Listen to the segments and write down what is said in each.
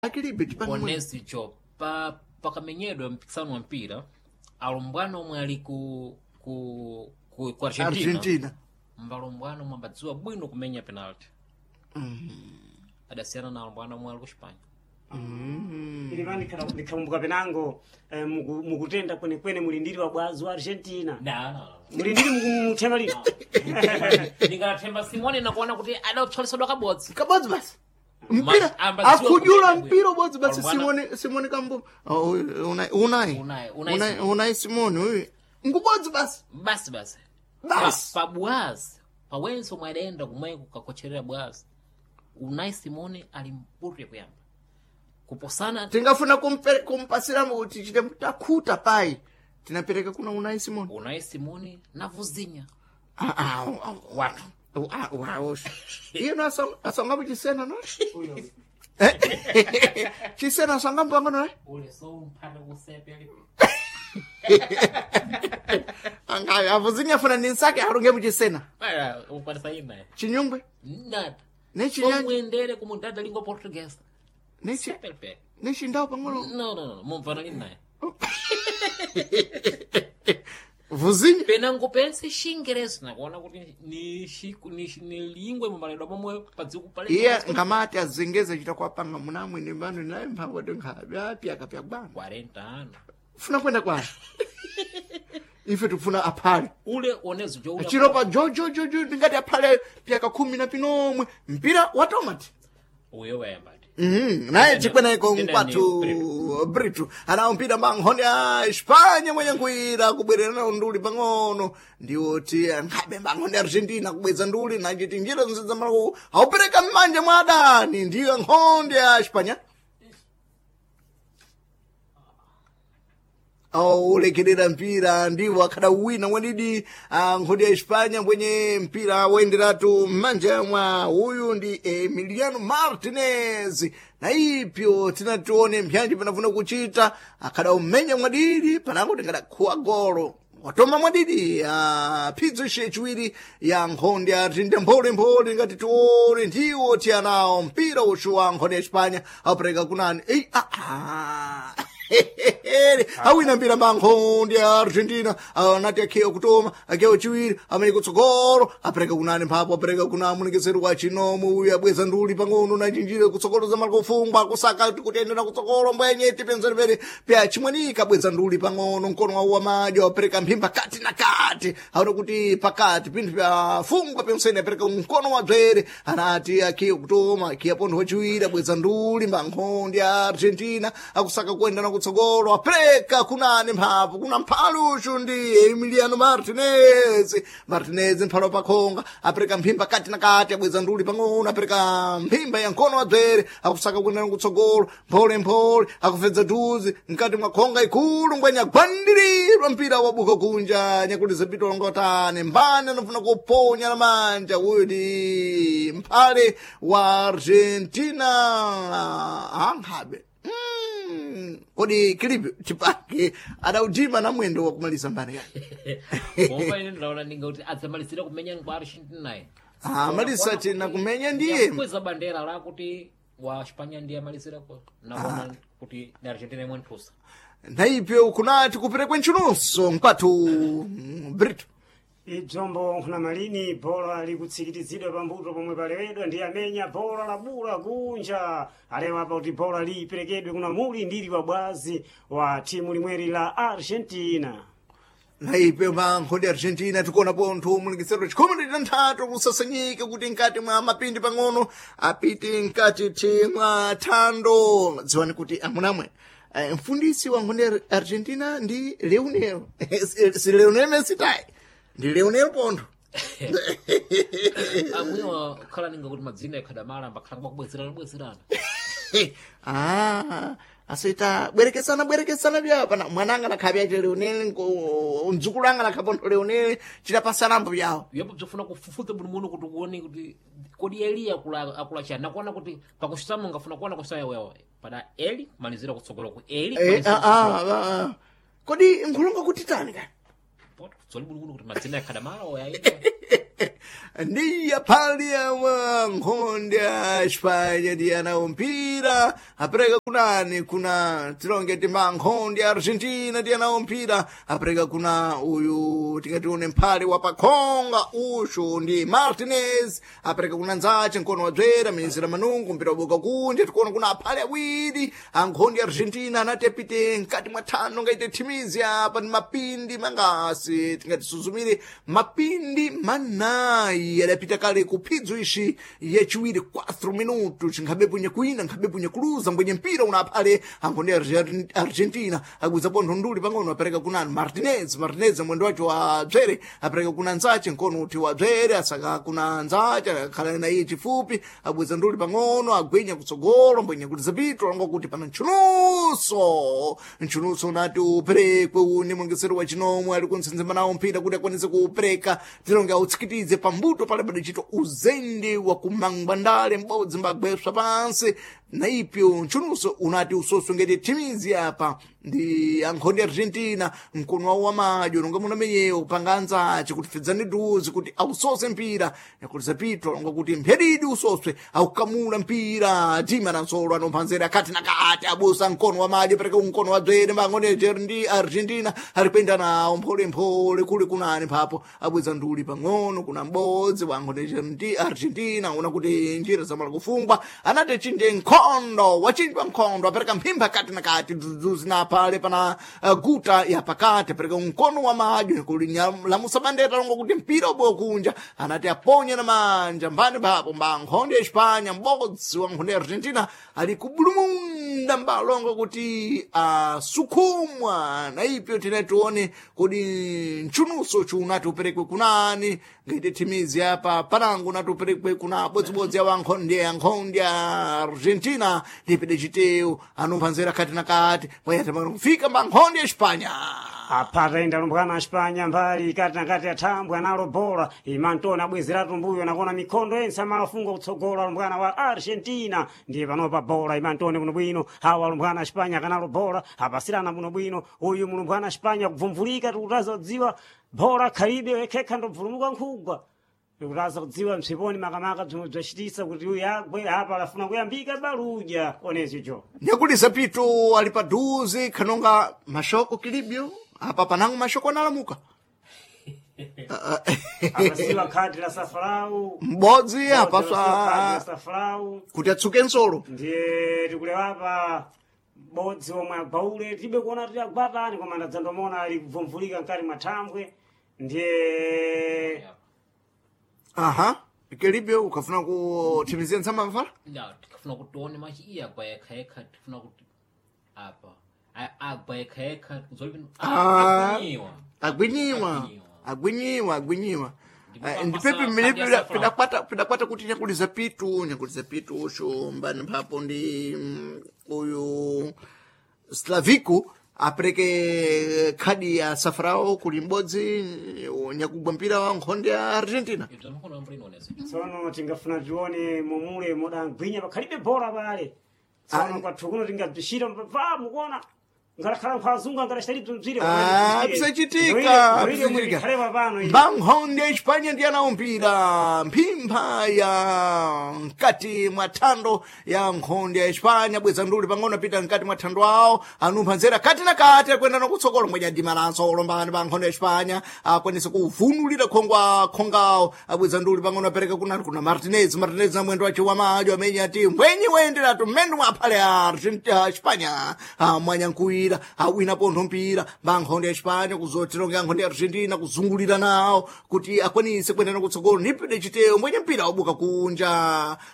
Akilibe tipange mwe. Onesicho pa pakamenyedwa mpikisano wa mpira alumbwana omwe ali ku Argentina, Argentina. Mbalumbwana omwe ambadziwa bwino kumenya penalty adasiyana na alumbwana omwe ali ku Spain. Ili ndikhakumbuka penango mukutenda kwenekwene mulindiri wa bwazi wa Argentina. Na, na, Mulindiri mukuthema lino. na. Ndingathemba Simone nakuona kuti adapsolesedwa kabodzi. Kabodzi basi. Mpira Ambadziwa akujula kumenya mpira ubodzi basi. Alumbwana- Simone Simone Kambo. Oh, unai unai Unai, Unai unai Simone. Unai Simone uyu. Ngubodzi basi. Basi basi. Basi. Pa bwazi pawenso omwe adayenda kumweko kukakocherera bwazi Unai Simone ali mputu yakuyamba kuposana. Tingafuna kumpasiramo kuti chite takhuta pai. Tinapereka kuna Unai Simone. Unai Simone na Vuzinha. Ah ah ah, Watu. ah ah. Iye no asonga chisena no? Uyo. Chisena asonga mpango no? Ule so umphanda kusepe ali. Anga avuzinya funa ninsake arunge muchisena. Para ukwanisa ina. Chinyungwe. Nada. Nechinyanja. Somwendere kumundada língua portuguesa. Nechi Sepe. nechindau pang'ono. No, no, no, mumvana lini naye. Vuzinya. Penango pense xingereza nakuona kuti ni xiku ni ni lingua imamaledwa momwe padziko pale. Iye ngamati azengeze chita kwapanga munamwene mbano naye mphamvu tingapyaka pyakubana. 40 anos. Funa kwenda kwani? Ife tikufuna aphale. Ule onezo jo ule. Chiropa jojojojo ndingati aphale pyaka 10 na pinomwe mpira wa tomati. Uyo wayamba. Naye chikwenaiko Tena ni mkwathu Britu anawo mpira mankhonde a Espanya mwenye nkuira kubwerera nawo nduli pang'ono ndiwoti nkhabe mankhonde a Argentina kubweza nduli nachiti njira zonse zamalaku aupereka m'manja mwa adani ndiyo nkhonde a Espanya aulekerera mpira ndiwo akhala wina mwenidi nkhonde ya Espanya mwenye mpira woyenderatu m'manja mwa uyu ndi Emiliano Martinez na ipyo tinatione mpyanji panafuna kuchita akhala umenya mwadidi panango tingadakhuwa golo watoma mwadidi phidzo ixe chiwiri ya nkhonde ya Argentina mpholemphole ngati tione ndiwo tiyanawo mpira uxu wa nkhonde ya Espanya apereka kunani ei ah, ah. Awina mpira mankhonde ya Argentina anati akhewa kutoma akhewa chiwiri amene kutsogolo apereka kunani mphapo apereka kuna munikiseri wa chinomu uyu abweza nduli pang'ono nachinjire kutsogolo za malakufungwa kusaka kutendera kutsogolo mbwenye tipenzere pere pya chimwanika abweza nduli pang'ono mkono wawo wamadyo apereka mphimba kati na kati aona kuti pakati pinthu pyafungwa pensene apereka mkono wa dzwere anati akhiya kutoma akhiya pontho wachiwiri abweza nduli mankhonde ya Argentina akusaka kuendana kutsogolo apereka kunani mphapo kuna mphaluxu ndi Emiliano Martinez Martinez mphalo pakhonga apereka mphimba kati na kati abweza nduli pang'ono apereka mphimba ya mkono wa dzwere akusaka kuendana kutsogolo mpholemphole akufedza duzi mkati mwa khonga ikulu ngwenya gwandirirwa mpira wabuka kunja nyakuliza pito longotane mbani anafuna kuponya na manja uyu ndi mphale wa Argentina ankhabe. Kodi kilipi chipake adautima na mwendo wa kumaliza mbani yake. Pomba ine ndaona ninga kuti adzamalizira kumenya kwa Argentina. Ah, malisa tina kumenya ndiye. Kweza bandera la kuti wa Espanya ndiye amalizira ko nakuona kuti ni Argentina imwe nthusa. Naipyo kunati kuperekwe ntchununso mkwathu Brito. Ibzombo nkhuna malini bhola likutsikitizidwa pambuto pomwe palewedwa ndi amenya bhola labula kunja alewa apa kuti bhola liperekedwe kuna muli ndili wa bwazi wa timu limweri la Argentina. Naipe mankhonde Argentina tikuona pontho mulingisero chikhumi ndi tanthatu kusasanyike kuti nkati mwa mapindi pang'ono apite nkati thi mwa thando dziwani kuti amunamwe mfundisi wa nkhonde ya Argentina ndi Leonel si Leonel Messi tayi ndi Leonel pontho. Amwewa khala ninga kuti madzina akhadamala ambakhala kubwezerana bwezerana. Ah, asita bwerekesana bwerekesana byapa na mwananga nakhabya che Leonel mdzukulu anga nakhapontho Leonel chidapasanambo byawo. Yapo bzofuna kufufuza bwino muno kuti uone kuti kodi Eli akula akula chani nakuona kuti pakusitama ungafuna kuona kusaya wewe pada Eli kumalizira kutsogolo ku Eli Eh, kumalizira ah, ah, ah. Kodi nkhulunga kuti tani kani? kutsogolo. Tsoli bwino muno kuti madzina akhadamala oyaita. Ndiya pali awa nkhonde ya Espanya ndiyanawo mpira apereka kunani kuna tilonge timba nkhonde ya Argentina ndiyanawo mpira apereka kuna uyu tingatione mphale wa pakhonga ushu ndi Martinez apereka kuna nzache mkono wa dzwera minyezera manungu mpira waboka kunja tikuona kuna aphale awiri ankhonde ya Argentina anati apite mkati mwa thano ngaite thimizi apa ndi mapindi mangasi tingatisuzumire mapindi manayi adapita kale kuphidzo ishi yachiwiri 4 minuto chinkhabe punye kuina nkhabe punye kuluza mbwenye mpira una aphale ankhonde Argentina agwiza pontho nduli pang'ono apereka kunani Martinez Martinez mwendo wacho wa dzwere apereka kuna nzache mkono uti wa dzwere asaka kuna nzache akhala na iye chifupi abweza nduli pang'ono agwinya kutsogolo mbwenye kuti zapitwa longa kuti pana ntchunuso ntchunuso unati uperekwe une mwongesero wa chinomwe ali kunsenzema nawo mpira kuti akwanise kuupereka tilonge autsikitize pambuto pale padachitwa uzende wa kumangwandale m'bodzi mbagweswa pansi na ipyo ntchunuso unati usoso ngati thimizi apa ndi ankhonde Argentina mkono wawo wamadyo nonga munamenyewo panga anzace kuti fedzani duzi kuti ausose mpira yakuti zapitwa longa kuti mphedidi usoswe aukamula mpira tima na nsolo anomphanzera kati na kati abusa mkono wa madyo pereka mkono wa dzwere mbangonde ndi Argentina ali kuyenda nawo mpholemphole kuli kunani mphapo abweza nduli pang'ono kuna m'bodzi wa ankhonde ndi Argentina una kuti njira zamala kufungwa anati chinje nkhondo wachinjwa nkhondo apereka mphimba kati na kati duzuzi na pale pana guta ya pakati apereka mkono wa madyo kuli lamusa bandera longo kuti mpira ubowa kunja anati aponye na manja mbani papo mba nkhonde ya Espanya m'bodzi wa nkhonde ya Argentina ali kubulumunda mbalongo kuti asukhumwa na ipyo tine tione kodi ntchunuso chunati uperekwe kunani ngaite thimizi apa panango unati uperekwe kuna bodzibodzi awa nkhonde ya nkhonde ya Argentina ndipide chitewu anomphanzera kati na kati mwayatama kufika mba nkhonde ya Espanya Apata inda lumbwana Espanya mbali kati na kati athambwe analo bola imantona abwezeratu mbuyo nakona mikhondo yense amalafunga kutsogola lumbwana wa Argentina ndiye panopa bola imantone kuno bwino hawa lumbwana Espanya kanalo bola apasirana muno bwino uyu mulumbwana Espanya kubvumvulika tikutaza kudziwa bola khalibe wekhekha ndobvulumuka nkhugwa tikutaza kudziwa msiponi makamaka bzomwe bzacitisa kuti uyu agwe apa alafuna kuyambika baluja onezijo nyakulisa pito ali paduze khanonga mashoko kilibyo apa panango mashoko analamuka apasiwa khadi la safarau m'bodzi la apaswa safarau kuti atsuke nsolo ndiye tikulewapa bodzi omwe agwaule tibe kuona tili agwatani koma ndadzandomona ali kubvumvulika mkati mwa thambwe ndiye aha kilibyo ukafuna kuthimizia ntsamba mfala Ya, tikafuna kuti tione machi iye agwa yekha yekha tifuna kuti apa agwa yekha yekha zoli Ah. agwinyiwa agwinyiwa Agwinyiwa. agwinyiwa agwinyiwa Ndipo Ndipepe pamasa mmene kadi ya safra. pidakwata kuti nyakuliza pitu nyakuliza pitu usho mbani mphapo ndi uyu Slavico apereke khadi ya safrao kuli m'bodzi nyakugwa mpira wa nkhonde ya Argentina ibzo makono ambiri inoonesa tsono tingafuna tione momule modagwinya pakhalibe bola pale tsono kwathu kuno tingabzishira pa mukuona ngalakhala nkhwazungu angalachita bzire Ah, bisachitika bisachitika khalewa pano ili. mbankhonde ya Espanya ndi anawo mpira mphimpha ya mkati mwa thando ya nkhonde ya Espanya bweza nduli pang'ono apita mkati mwa thando awo anumpha nzera kati na kati akwenda nakutsogolo mwenye adimalanso olombani pa nkhonde ya Espanya akwanisa kuvunulira khongwa khongawo abweza nduli pang'ono apereka kunani kuna Martinez Martinez na mwendo wace wamadyo amene ati mbwenye wenderatu mmene mwaphale a Argentina Espanya mwanyankuwira awina pontho mpira mbankhonde ya Espanya kuzotironga nkhonde ya Argentina kuzungulira nawo kuti akwanise kuendana kutsogolo nipide chiteyo mwenye mpira wabuka kunja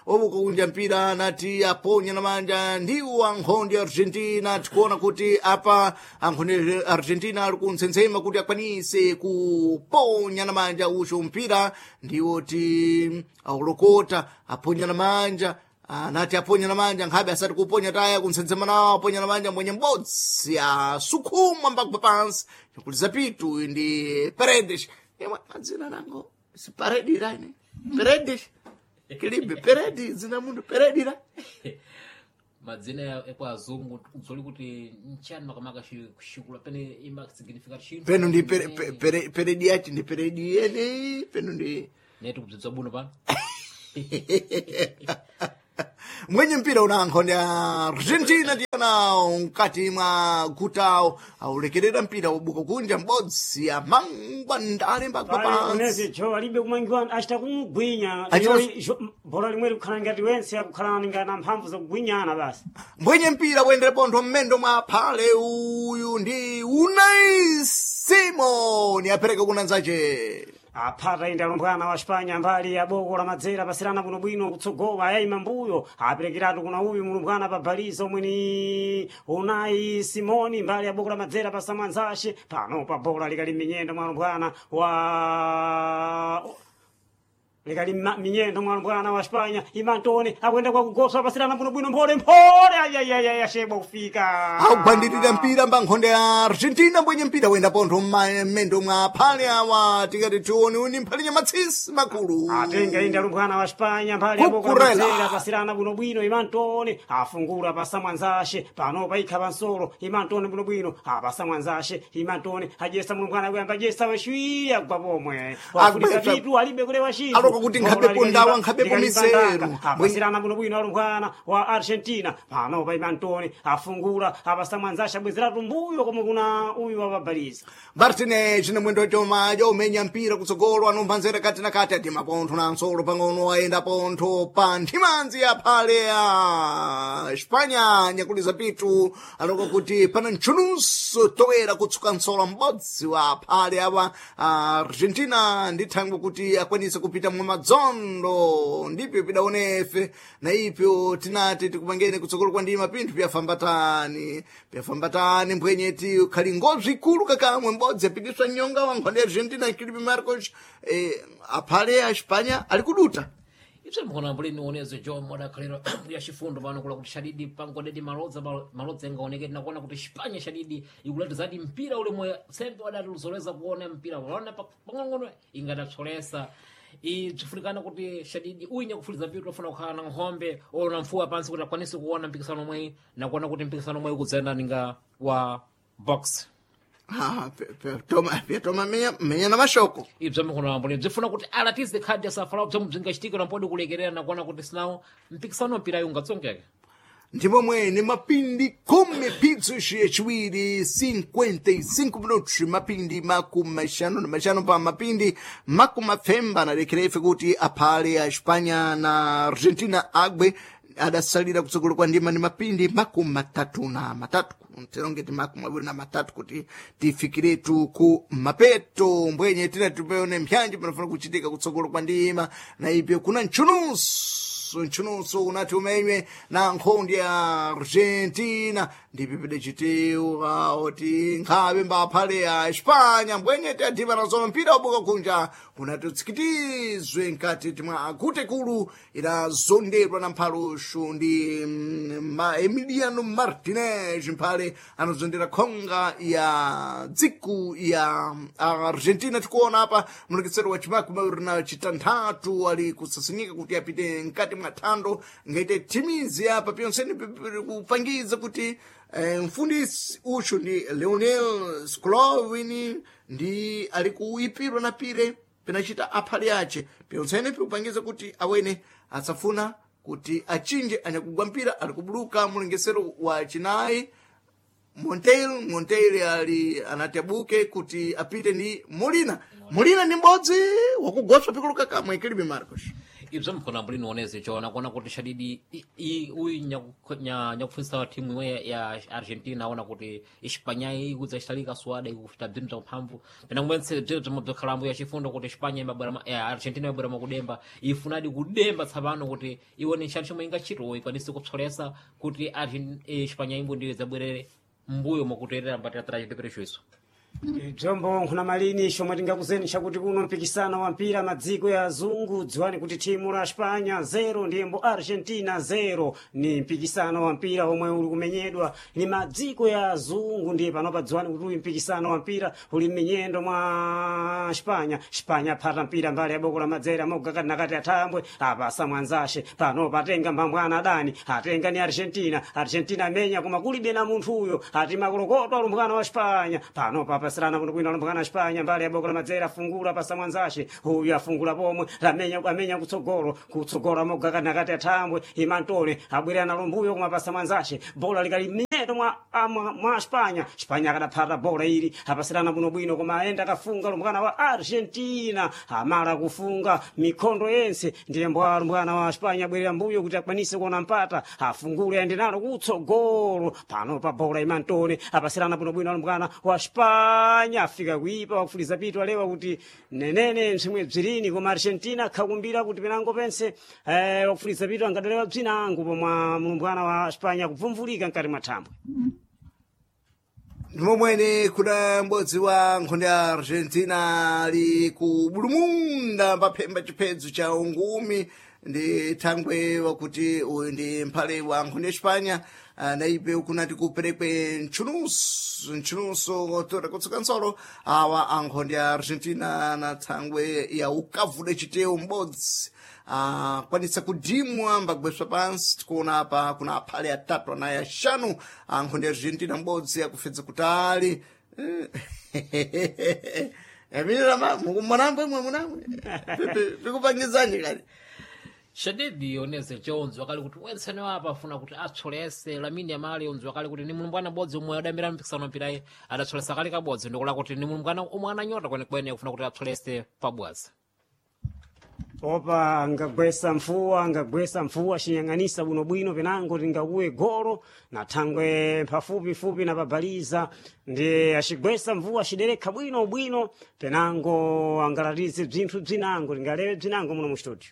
wabuka kunja mpira nati aponya na manja ndiwo ankhonde ya Argentina tikuona kuti apa ankhonde ya Argentina ali kuntsensema kuti akwanise kuponya na manja ucho mpira ndiwo ti aulokota aponya na manja anati aponya na manja nkhabe asati kuponya taya kuntsensema nawo aponya na manja mwenye m'bodzi asukhumwa mbagwa pansi nyakuliza pitu ndi Paredes imwe madzina nango si Paredi rani Paredes kilibe Paredi dzina mundu Paredi ra madzina ekwa azungu zoli kuti nchani makamaka xikula pene ima significa chinthu peno ndi Peredi yachi ndi Peredi yene peno ndi Netu kubzibza buno pano. Mwenye mpira unankho ya Argentina ndiyona mkati mwa gutawo aulekerera mpira ubuka kunja m'bodzi amangwa ndale mbagwa Pale pansi. unezi jo alibe kumangiwa achita kumugwinya. Bhola limwe likukhala ngati wense akukhala ngati mphamvu zokugwinyana basi. Mbwenye mpira wendere pontho mmendo mwa phale uyu ndi Unai Simon apereka kunanzace. Aphata indi alumbwana wa Spanya mbali ya boko la madzera pasirana bwinobwino kutsogowa ayayima mbuyo aperekeratu kuna uyu mulumbwana pa baliza omwe ni Unai Simoni mbali ya boko la madzera pa samwanzashe pano pa bola likali minyendo mwa alumbwana wa likali minyendo mwa alumbwana wa Spanya imantone akuyenda kwa kugosa pasirana bwinobwino mphole mphole ayayayaya shebwa kufika Akugwandirira mpira mbankhonde ya Argentina mbwenye mpira wenda pontho mmendo mwa phale awa tikati tione uni mphale nyamatsisi makulu. Atenga indi alumbwana wa Spanya mbali ya boko Kukurela. la pasirana bwinobwino imantone afungula pasamwanzashe pano paikha pansolo imantone bwinobwino apasamwanzashe imantone ajesa mulumbwana kuyamba ajesa weshwi agwa pomwe wafulika Agwetsa. vitu alibe kulewa chinthu Aloka kuti nkhabe pondawa, nkhabe pomiseru. Apasirana bwinobwino alumbwana wa Argentina pano pa imantone afungula apasamwanzashe abwezeratu mbuyo komwe kuna uyu wapabaliza. Martinez na mwendo choma chomenya mpira kutsogolo anomva nzere kati na kati ati mapontho na nsolo pang'ono ayenda pontho pa nthimanzi ya phale ya Espanya nyakuliza pitu aloka kuti pana ntchununso toera kutsuka nsolo m'bodzi wa phale awa Argentina ndi thangwe kuti akwanise kupita mwa madzondo ndipyo pidaonefe na ipyo tinati tikupangene kutsogolo kwa ndima pinthu pyafambatani pyafambatani mbwenyeti khali ngozwi ikulu kakamwe m'bodzi apitiswa nyonga wa nkhonde ya Argentina Filipe Marcos aphale a Espanya ali kuduta. Ipse mkhona mbulini uonezo jo modakhalira ya chifundo pano kula kuti shadidi pangodedi malodza malodza ingaoneke tinakuona kuti Spanya shadidi ikulati zadi mpira ule moyo sembe wadati luzoleza kuona mpira waona pang'onong'ono ingatapsolesa ibzifunikana kuti shadidi uyinya kufuliza vitu afuna kukhala na nkhombe ona mfuwa pansi kuti akwanise kuona mpikisano omweyi nakuona kuti mpikisano omweyi ukudzayenda ninga wa box. Ah, pyatoma menya na mashoko. Ibzo mukhono mboni bzifuna kuti alatize khadi asafala bzo bzingachitika nampodi kulekerera nakuona kuti sinawo mpikisano mpira ungatsongeke. Ndipo mwene mapindi khumi phitsu yachiwiri 55 minutos mapindi makumi maxanu na maxanu pa mapindi makumi mapfemba analekera ife kuti aphale a Espanya na Argentina agwe adasalira kutsogolo kwa ndima ni mapindi makumi matatu na matatu tilongeti makumi awiri na matatu kuti tifikiretu ku mapeto mbwenye tina tipeone mpyanji panafuna kuchitika kutsogolo kwa ndima na ipyo kuna ntchununso ntchununso unati umenywe na nkhondi ya Argentina ndipo pidachitiwa oti nkhabe mbaphale ya Espanya mbwenye tiyadhiba nazono mpira ubuka kunja unati utsikitizwe mkati timwa akutekulu idazondedwa na mphaluxu ndi Emiliano Martinez mphale anazondera khonga ya dziku ya Argentina. Tikuona apa mulekesero wa chimakumi awiri na chitanthatu ali kusasinyika kuti apite mkati mwa thando ngaite thimizi apa pyonseni kupangiza kuti mfundisi uchu ndi Leonel Scaloni ndi ali kuipirwa na pire pinachita aphale ace pyonsene pikupangiza kuti awene asafuna kuti achinje anyakugwa mpira ali kubuluka mulengesero wa chinayi Monteil ali anati abuke kuti apite ndi Molina. Molina ndi m'bodzi wakugoswa pikuluka kamwe Kilibe Marcos. Ibzo mkhona mbuli nioneze chona kuona kuti shadidi uyu nyakufundisa wa timu imwe ya Argentina aona kuti Espanya ikudza chitalika swada ikufuta bzinthu bza mphamvu pena kumwentse bzinthu bzomwe bzakhalambo ya chifundo kuti Espanya imabwera ya Argentina imabwera makudemba ifunadi kudemba tsapano kuti iwone nchani chomwe ingachito ikwanise kupsolesa kuti Espanya imbo ndiyo idzabwerere mbuyo mwakuterera mbatira chiteperecho iso. Bzombo nkhuna malini shomwe tingakuzeni chakuti kuno mpikisano wa mpira madziko ya azungu dziwani kuti thimu la Espanya 0 ndiyembo Argentina 0 ni mpikisano wa mpira omwe uli kumenyedwa ni madziko ya azungu ndiye panopa dziwani kuti uyu mpikisano wa mpira uli m'minyendo mwa Espanya. Espanya aphata mpira mbali ya boko la madzera moga kati nakati athambwe apasa mwanzashe pano patenga mphambwana adani atenga ni Argentina. Argentina amenya koma kulibe na munthu uyo ati makolokoto alumbwana wa Espanya pano papa. Apasirana bwinobwino alumbukana Espanya mbali ya boko la madzera, afungula pasa mwanzace uyu afungula pomwe lamenya amenya kutsogolo, kutsogolo amogakana kati athambwe imantole abwerera nalo mbuyo kumapasa mwanzace, bola likali mnyeto mwa, mwa Espanya. Espanya akadaphata bola ili apasirana bwinobwino koma ayenda akafunga lumbukana wa Argentina, amala kufunga mikhondo yense ndiye mbwa lumbukana wa Espanya abwerera mbuyo kuti akwanise kuona mpata, afungule ayende nalo kutsogolo pano pa bola imantole apasirana bwinobwino alumbukana wa Espanya afika kuipa wakufuliza pitu alewa kuti nenene msimwe bzirini, koma Argentina akhakumbira kuti penango pense wakufuliza pitu angadalewa bzinango pomwe mlumbwana wa Espanya kubvumvulika mkati mwa thambwe. Ndimomwene kuna m'bodzi wa nkhondo ya Argentina ali ku bulumunda paphemba chiphedzo cha ungumi ndi thangwe wakuti uyu ndi mphale wa nkhondo ya Espanya, naipe kunati kuperekwe ntchunuso ntchunuso tora kutsuka nsolo awa ankhondo ya Argentina na thangwe ya ukavude chitewu m'bodzi akwanitsa kudimwa mbagweswa pansi. Tikuona apa kuna aphale atatu anayi axanu ankhondo ya Argentina, m'bodzi akufedza kutali. Mwanambwe mwanambwe pikupangizani kali Shadidi oneze chonzi wakali kuti wensene apa afuna kuti atsolese Lamine Yamal, onzi wakali kuti ni mulumbwana bodzi omwe adambira mpikisano mpirayi adatsolesa kale kabodzi, ndikula kuti ni mulumbwana omwe ananyota kwenekwene akufuna kuti atsolese pabwazi. Opa angagwesa mfuwa, angagwesa mfuwa xinyang'anisa bwinobwino penango tingakuwe golo na thangwe pafupifupi na pabaliza, ndi acigwesa mvuwa aciderekha bwino bwino penango angalatize bzinthu bzinango tingalewe bzinango muno mu studio.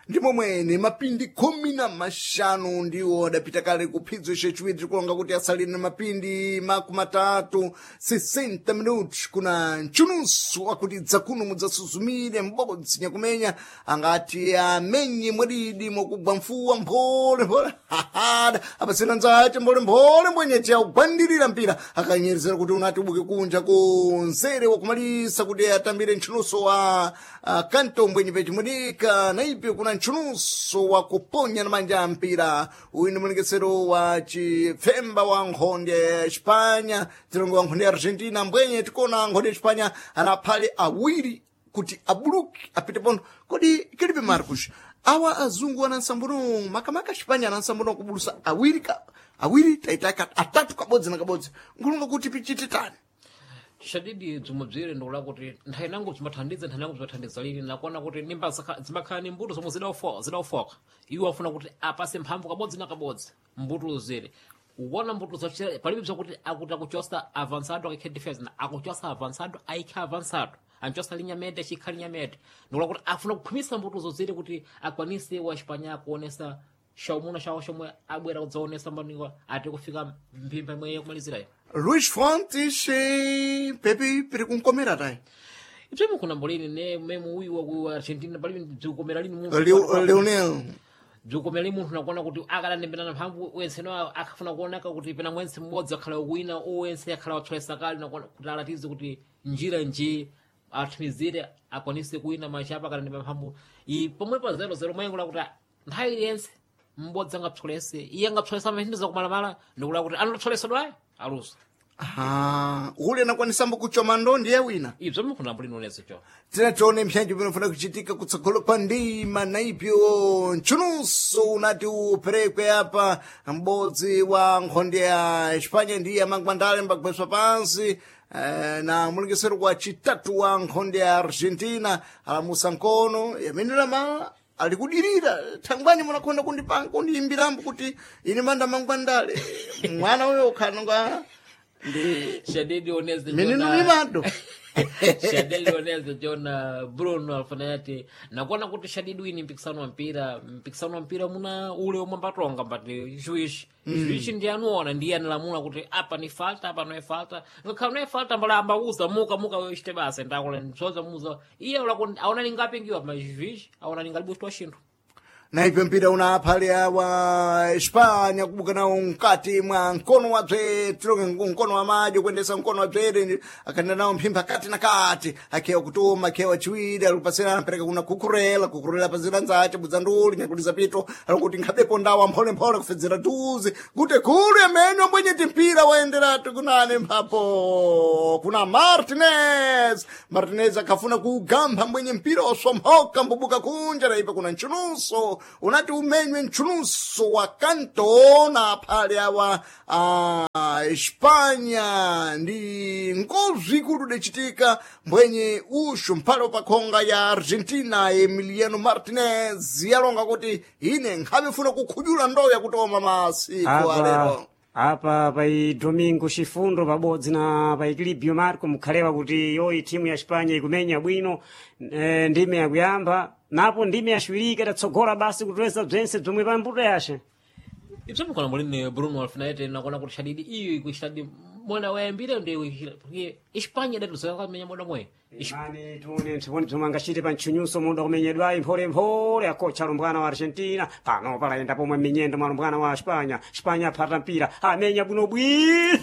Ndi momwene mapindi 15 ndiwo adapita kale kuphidzo chachiwiri, tikulonga kuti asalire na mapindi 30, 60 minutos kuna mchunusu wakuti dzakuno mudzasuzumire m'bodzi nyakumenya angati amenye mwadidi mwakugwa mfuwa mphole mphole hahada apasina nzace mphole mphole mbwenyeche akugwandirira mpira akanyerezera kuti unati ubuke kunja kunzere wakumalisa kuti atambire mchunuso wa kanto mbwenye pechimudika naipe kuna mchunuso wa kuponya na manja mpira. Uyu ndi mulengesero wa chipfemba wa nkhonde ya Espanya, tilongo wa nkhonde ya Argentina mbwenye tikuona nkhonde ya Espanya anaphale awiri kuti abuluke apite pono. Kodi kilipe Marcos awa azungu anansambuno makamaka Espanya anansambuno kubulusa awiri ka awiri taitaka atatu kabodzi na kabodzi nkulonga kuti pichite tani. Shadidi bzomwe bzire ndikula kuti nthawi nango bzimathandiza, nthawi nango bzimathandiza lini nakuona kuti nimba zimakhala ni mbuto zomwe zidaufoka, iwo afuna kuti apase mphamvu kabodzi na kabodzi mbuto zire kuona mbuto zochera palibe bzakuti akuti akuchosa avançado akaikhe defense na akuchosa avançado aikhe avançado anchosa linya mete achikha linya mete, ndikula kuti afuna kukhumisa mbuto zozire kuti akwanise wa Espanya kuonesa shaumuna shawo shomwe abwera kudzaonesa mbaniwa ati kufika mphimba imwe yakumalizirayo. Luis Fontes pepi piri kunkomera tayi. Ibzomwe kuna mbolini ne memu uyu wa ku Argentina palibe bzikukomera lini munthu Leonel bzikukomera lini munthu nakuona kuti akalandembelana mphamvu wenseno akafuna kuoneka kuti pena mwense mmodzi akhala wina owense akhala watsolesa kale nakuona kuti alatize kuti njira nji athimizire akwanise kuwina machapa akalandembera mphamvu i pomwe pa 0-0 mwengo lakuti nthawi iliyentse mmodzi angapsolese iye angapsolesa amaphindiza kumalamala ndikula kuti anatsolesedwayo alusa. Ah, ule anakwanisambo kuchoma ndo ndiye wina. Ibzo mukuna mbulini unezo cho Tina tione mpyanjo pinofuna kuchitika kutsogolo kwa ndima naipyo mchunuso unati uperekwe apa m'bodzi wa nkhonde ya Espanya ndiye amangwandale mbagweswa pansi na mulengesero kwa chitatu wa nkhonde ya Argentina alamusa nkono yamenera ma alikudirira thangwani munakonda kundipanga kundiyimbirambo kuti ine manda mangwandale mwana uyo ukhanonga ndi Shadidi oneze mininu mimado. Shadidi oneze Jona Bruno Alfanati nakuona kuti Shadidi wini mpikisano wa mpira, mpikisano wa mpira muna ule omwe ambatonga mbati juiz juiz ndiye anuona ndiye analamula kuti apa ni falta apa no falta ngakhala no falta mbala ambauza muka muka wewe chite basa ndakula ndsoza muza iye ula aona ningapingiwa ma juiz aona ningalibushwa shinthu. Naipe mpira una aphale awa Espanya kubuka nawo mkati mwa mkono wa bzere tilonge mkono wa madyo kuendesa mkono wa bzere akaenda nawo mphimba kati na kati akhewa kutuma akhewa chiwiri alikupasira anapereka kuna kukurela kukurela pazira nzace budzanduli nyakuliza pito alikuti nkhabepo ndawa mpholemphole kufedzera tuzi kuti khulu yamenyo mbwenye timpira. Mpira waenderatu kunane mphapo kuna Martinez. Martinez akafuna kuugamba mbwenye mpira wasomhoka mbubuka kunja naipa kuna nchunuso unati umenywe nchunuso wa kanto na phale awa Espanya ndi ngozi ikulu idacitika mbwenye ushu mphale wapakhonga ya Argentina Emiliano Martinez yalonga kuti ine nkhavefuna kukhujula ndowe yakutoma masiku alero. Apa pai Domingo Chifundo pabodzi na pai Clibio Marco mukhalewa kuti yoyi timu ya Espanya ikumenya bwino ndime yakuyamba napo ndime yaciwirika idatsogola basi kutoweza bzense bzomwe pambuto yace. Ibzo mulini Bruno Alfinete nakuona kuti shadidi iyo ikushadidi mwana wayambire ndi Espanya idatuzoya kamenya moda mwe. Imani tione mpsiponi bzomwe angacite pa ntchunyuso muda kumenyedwayi mpholemphole akocha alumbwana wa Argentina pano palayenda pomwe minyendo mwa alumbwana wa Espanya. Espanya aphata mpira amenya bwinobwino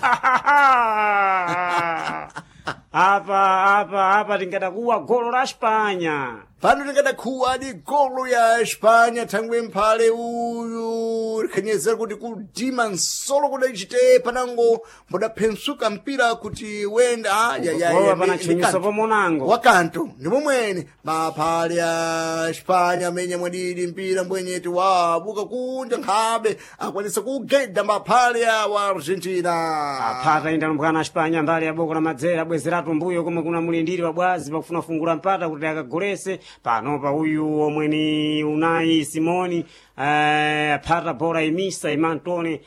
apa tingadakuwa golo la Espanya. Pano tingadakhuwa di golo ya Espanya thangwe mphale uyu likhanyezera kuti kudima nsolo kudacite panango mbudaphensuka mpira kuti wenda Gowa pana ntchunyuso pomonango wakanto ndi momwene maphale a Espanya amenya mwadidi mpira mbwenyeti wabuka kunja nkhabe akwanisa kugeda maphale awa Argentina. Aphata inda lumbwana Espanya mbali ya boko la madzera abwezeratu mbuyo komwe kuna mulindiri wa bwazi pakufuna fungula mpata kuti akagolese panopa uyu omwe ni Unai Simoni aphata bola imisa imantone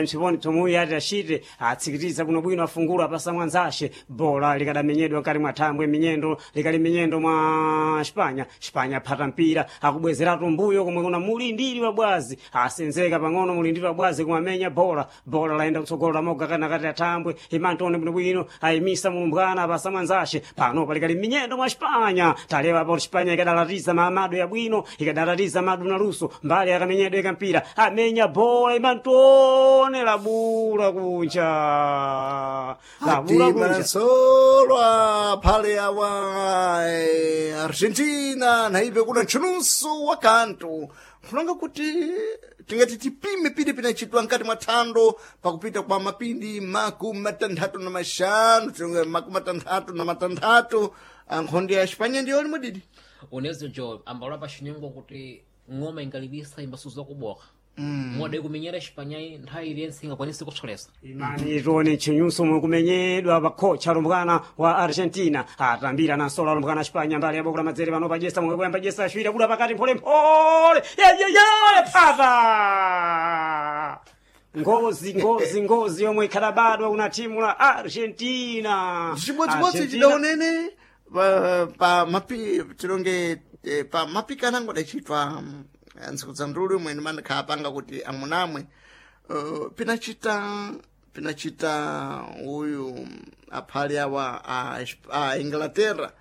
msiponi psomwe uyu ati acite atsikitiza bwinobwino afungula apasa mwanzace bola likadamenyedwa mkati mwa thambwe minyendo likali minyendo mwa Espanya. Espanya aphata mpira akubwezeratu mbuyo komwe kuna mulindiri wa bwazi asenzeka pang'ono mulindiri wa bwazi kumamenya bola bola laenda kutsogolo lamoga kana kati athambwe imantone bwinobwino ayimisa mulumbwana apasa mwanzace pano palikali minyendo mwa Espanya talewa apo Espanya ikadalatiza mamado yabwino ikadalatiza madu na luso mbali akamenyedwa ikampira amenya bola imantone labula kunja labula kunja Solo phale awa Argentina naive kuna ntchunuso wa kanto kulonga kuti tingati tipime pili pinachitwa nkati mwa thando pakupita kwa mapindi 65 tinge 66 nkhondo ya Espanya ndiyoni mwadidi Unezo jo ambalo pa chinyengo kuti ng'oma ingalibisa imbasuza kuboka. Moda ikumenyera Espanya nthawi iliyonse ingakwanise kutsolesa. Imani tione ntchunyuso omwe kumenyedwa pakhocha alumbwana wa Argentina atambira nansolo alumbwana Espanya mbali ya boko la madzere pano pajesa momwe kuyamba jesa ashwira kula pakati mpholemphole yeyeye phata ngozi ngozi ngozi yomwe ikhalabadwa kuna timu la Argentina. Chimodzimodzi Argentina- chidaonene pa mapi tilonge pa mapikanango adachitwa ntsiku za ndulu imwe mandikhala kuti amunamwe pinachita uyu aphale awa a Inglaterra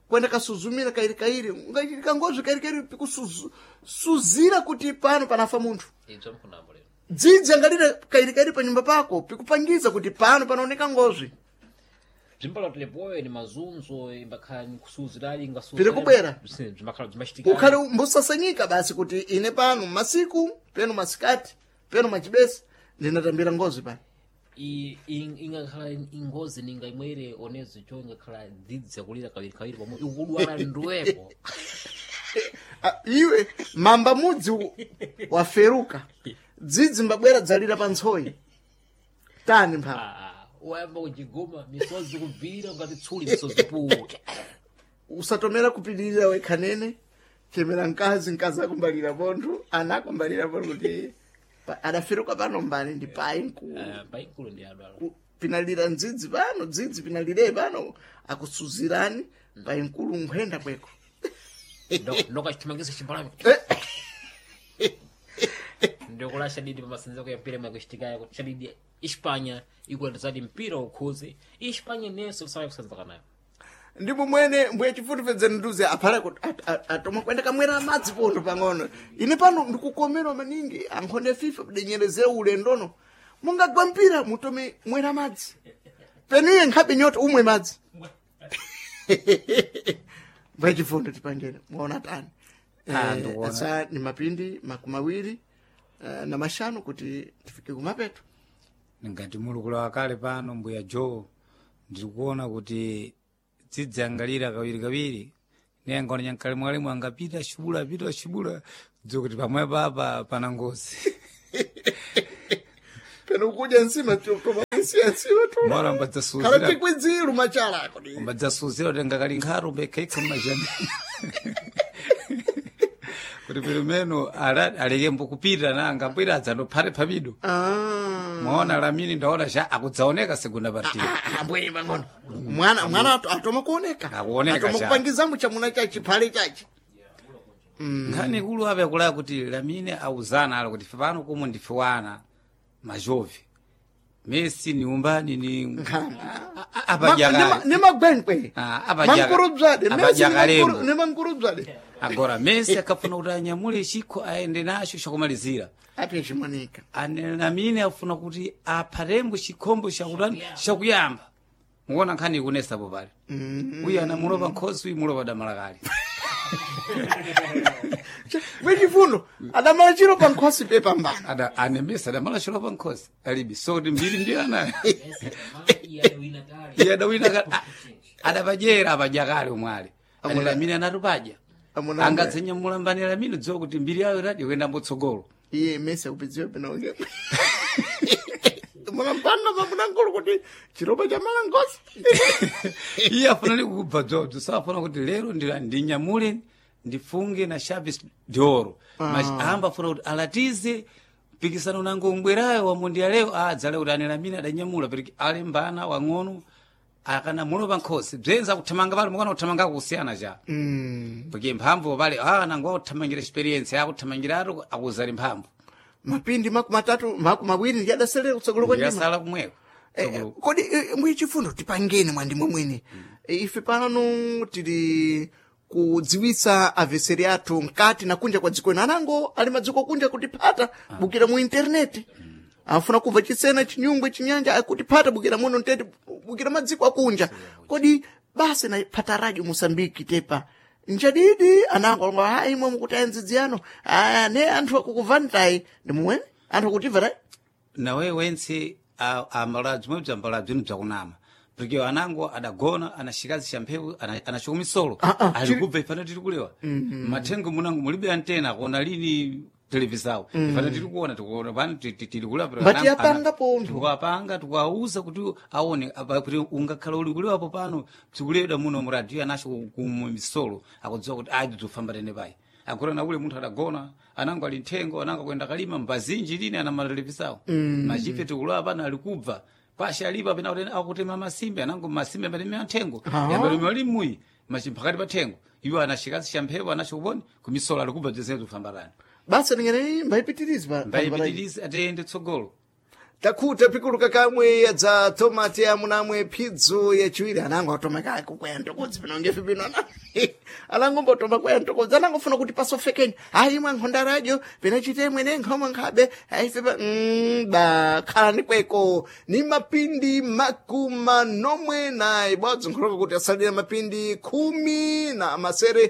kwenda kasuzumira kairikairi ungachitika ngozi kairikairi pikusuzira kuti pano panafa munthu. Ibzo mkunambo lero. Dzidzi angalira kairikairi panyumba pako pikupangiza kuti pano panaoneka ngozi. Bzimbalo tilepoyo ni mazunzo imbakhala ni kusuzirali ingasuzira. Piri kubwera. Zimbakhala zimachitika. Ukhale mbusasanyika basi kuti ine pano masiku peno masikati peno machibesi ndinatambira ngozi pano. Ingakhala ingozi ninga imwere onezo cho ingakhala dzidzi yakulira kawiri kawiri pomwe ikudwala ndwepo. Iwe mamba mudzi waferuka dzidzi mbabwera dzalira pa ntsoyi tani mphamvu. Wayamba kuchigoma misozi kubvira ngati tsuli misozi puke. Usatomera kupilirira wekhanene chemera mkazi mkazi akumbalira pontho ana akumbalira pontho kuti adaferuka pano mbani ndi payi mkulu. Paikulu ndi adwala. Pinalira ndzidzi pano dzidzi pinalire pano akusuzirani payi mkulu nkhwenda kweko. Ndokachithimangisa chimbalame ndikula shadidi pamasenza ya mpira imwe kuti shadidi Espanya ikulandizadi mpira ukhuzi Espanya nenso kusaya kusenzaka nayo. Ndipo mwene mbuye chifutifedzeni nduze aphale kuti atoma kwenda kamwera amadzi pontho pang'ono ine pano ndikukomerwa maningi ankhonde ya FIFA kudenyerezera ulendono mungagwa mpira mutome mwera madzi peniye nkhabe nyota umwe madzi. Mbuye chifundo tipangene mwaona tani. Ndikuona. Asa ni mapindi 25 kuti tifike kumapeto. Ngati mulukula wakale pano mbuya Joe, ndikuona kuti dzidzangalira kawiri kawiri ne angaona nyankale mwalimu angapita shubula apita shubula dziwa kuti pamwepo apa pana ngozi. Peno kudya nsima tomaisiya nsima mora khala mbadzasuzira tikwidziru machala ako di. Mbadzasuzira kuti ngakali nkharo mbekhaikha mmajani kuti pilimeno aleke mbukupita na angabwera adzandophate phabido. Ah. Mwaona Lamini ndaona cha akudzaoneka segunda partida. Ah, mbweni pang'ono mwana mwana atoma kuoneka. Akuoneka atoma cha. kupangizamo chamuna chachi phale chachi. Nkhani ikulu ape akulaya kuti Lamine auzana alo kuti pano kumwe ndife wana majovi Messi ni umbani ni apajakale ni magwenkwe. Ah, apajaga- Mankurubzade Messi apajakalemo. ni mankurubzade. Agora Messi akafuna kuti anyamule chikho aende nacho chakumalizira. Ape chimoneka. Ane Lamine afuna kuti aphatembo chikhombo chakutani chakuyamba. Mukuona nkhani ikunesapo pale uyu anamulopa nkhosi uyu mulopa damalakale. Mwechifundo adamala chiro pa nkhosi pe pambana. Ada ane Messi adamala chilopa nkhosi alibi so kuti mbiri ndiyo anayo. Iye adawina adapajera apajakale umwale ane Lamine anatupadya. Amuna- Angadzenyamula mbani Lamine dziwa kuti mbiri yayo radi kuyenda mbotsogolo. Iye Messi akupidziwa peno munampanda pamunankulu kuti chiropa cha mala nkhosi. Iye afuna likubva dzobzo safuna kuti lero ndinyamule ndifunge na Chaves d'Oro. Amba afuna kuti alatize mpikisano nango umbwerayo wa mundial leo adzale kuti ane Lamine adanyamula pereki alembana wang'ono akanamulopa nkhosi bzenza akuthamanga pale mukana kuthamanga kusiyana cha porque mphamvu pale nango akuthamangira experience akuthamangira atu akuzali mphamvu. Mapindi 32 20 ndi adaselera kutsogolo kwa ndima. Yasala kumweko. Kodi mwichifundo tipangeni mwandimwe mwene. Ife pano tili kudziwitsa aveseri athu mkati na kunja kwa dziko ino anango ali madziko kunja kutiphata bukira mu interneti afuna kubva chisena chinyungwe chinyanja akutiphata bukira muno mtete bukira madziko akunja. Kodi basi na phata radio Mosambiki tepa njadidi anango alonga hayi imwe mukuti ayenzidziyano aya ne anthu akukuvanitai ndi mumwene anthu akutimva tai. Nawe wentse ambalabzi mwe bzambalabzi bzinu bzakunama porque anango adagona anashikazi cha mphepo anachoka misolo ali kubva ifana tiri kulewa mathengo munango mulibe antena kuona lini televisawo ifana tiri kuona tikuona pano tiri kulewa pero Mbati yapanga pontho. Tikuapanga tikuauza kuti aone apa kuti ungakhala uli kulewapo pano bzikulewedwa muno mu radio anacho kumisolo akudziwa kuti ayi bzofamba tene payi agora na ule munthu adagona anango ali nthengo anango akuyenda kalima mbazinji lini ana matelevisawo machife tikulewa pano ali kubva pasha alipo apena kuti akutema masimbe anango masimbe amatemera nthengo yambatemera limuyi machimphakati pa thengo iwo anashikazi cha mphepo anacho kuponi kumisolo ali kubva bzese zofambatani. Basa ningenei mbayipitirizi pa Mbayipitirizi atiyende tsogolo. Takhuta pikuluka kamwe yadza tomati amunamwe phidzo yachiwiri anango atoma kako kwaya ntokodzi pino ngefe pino anango mbotoma kwaya ntokodzi anangofuna kuti pasofekeni ayi imwe nkhonda radio pina mwene nkhomwe nkhabe aife pa ba khalani kweko ni mapindi 47 ibodzi nkholoka kuti asalira mapindi 16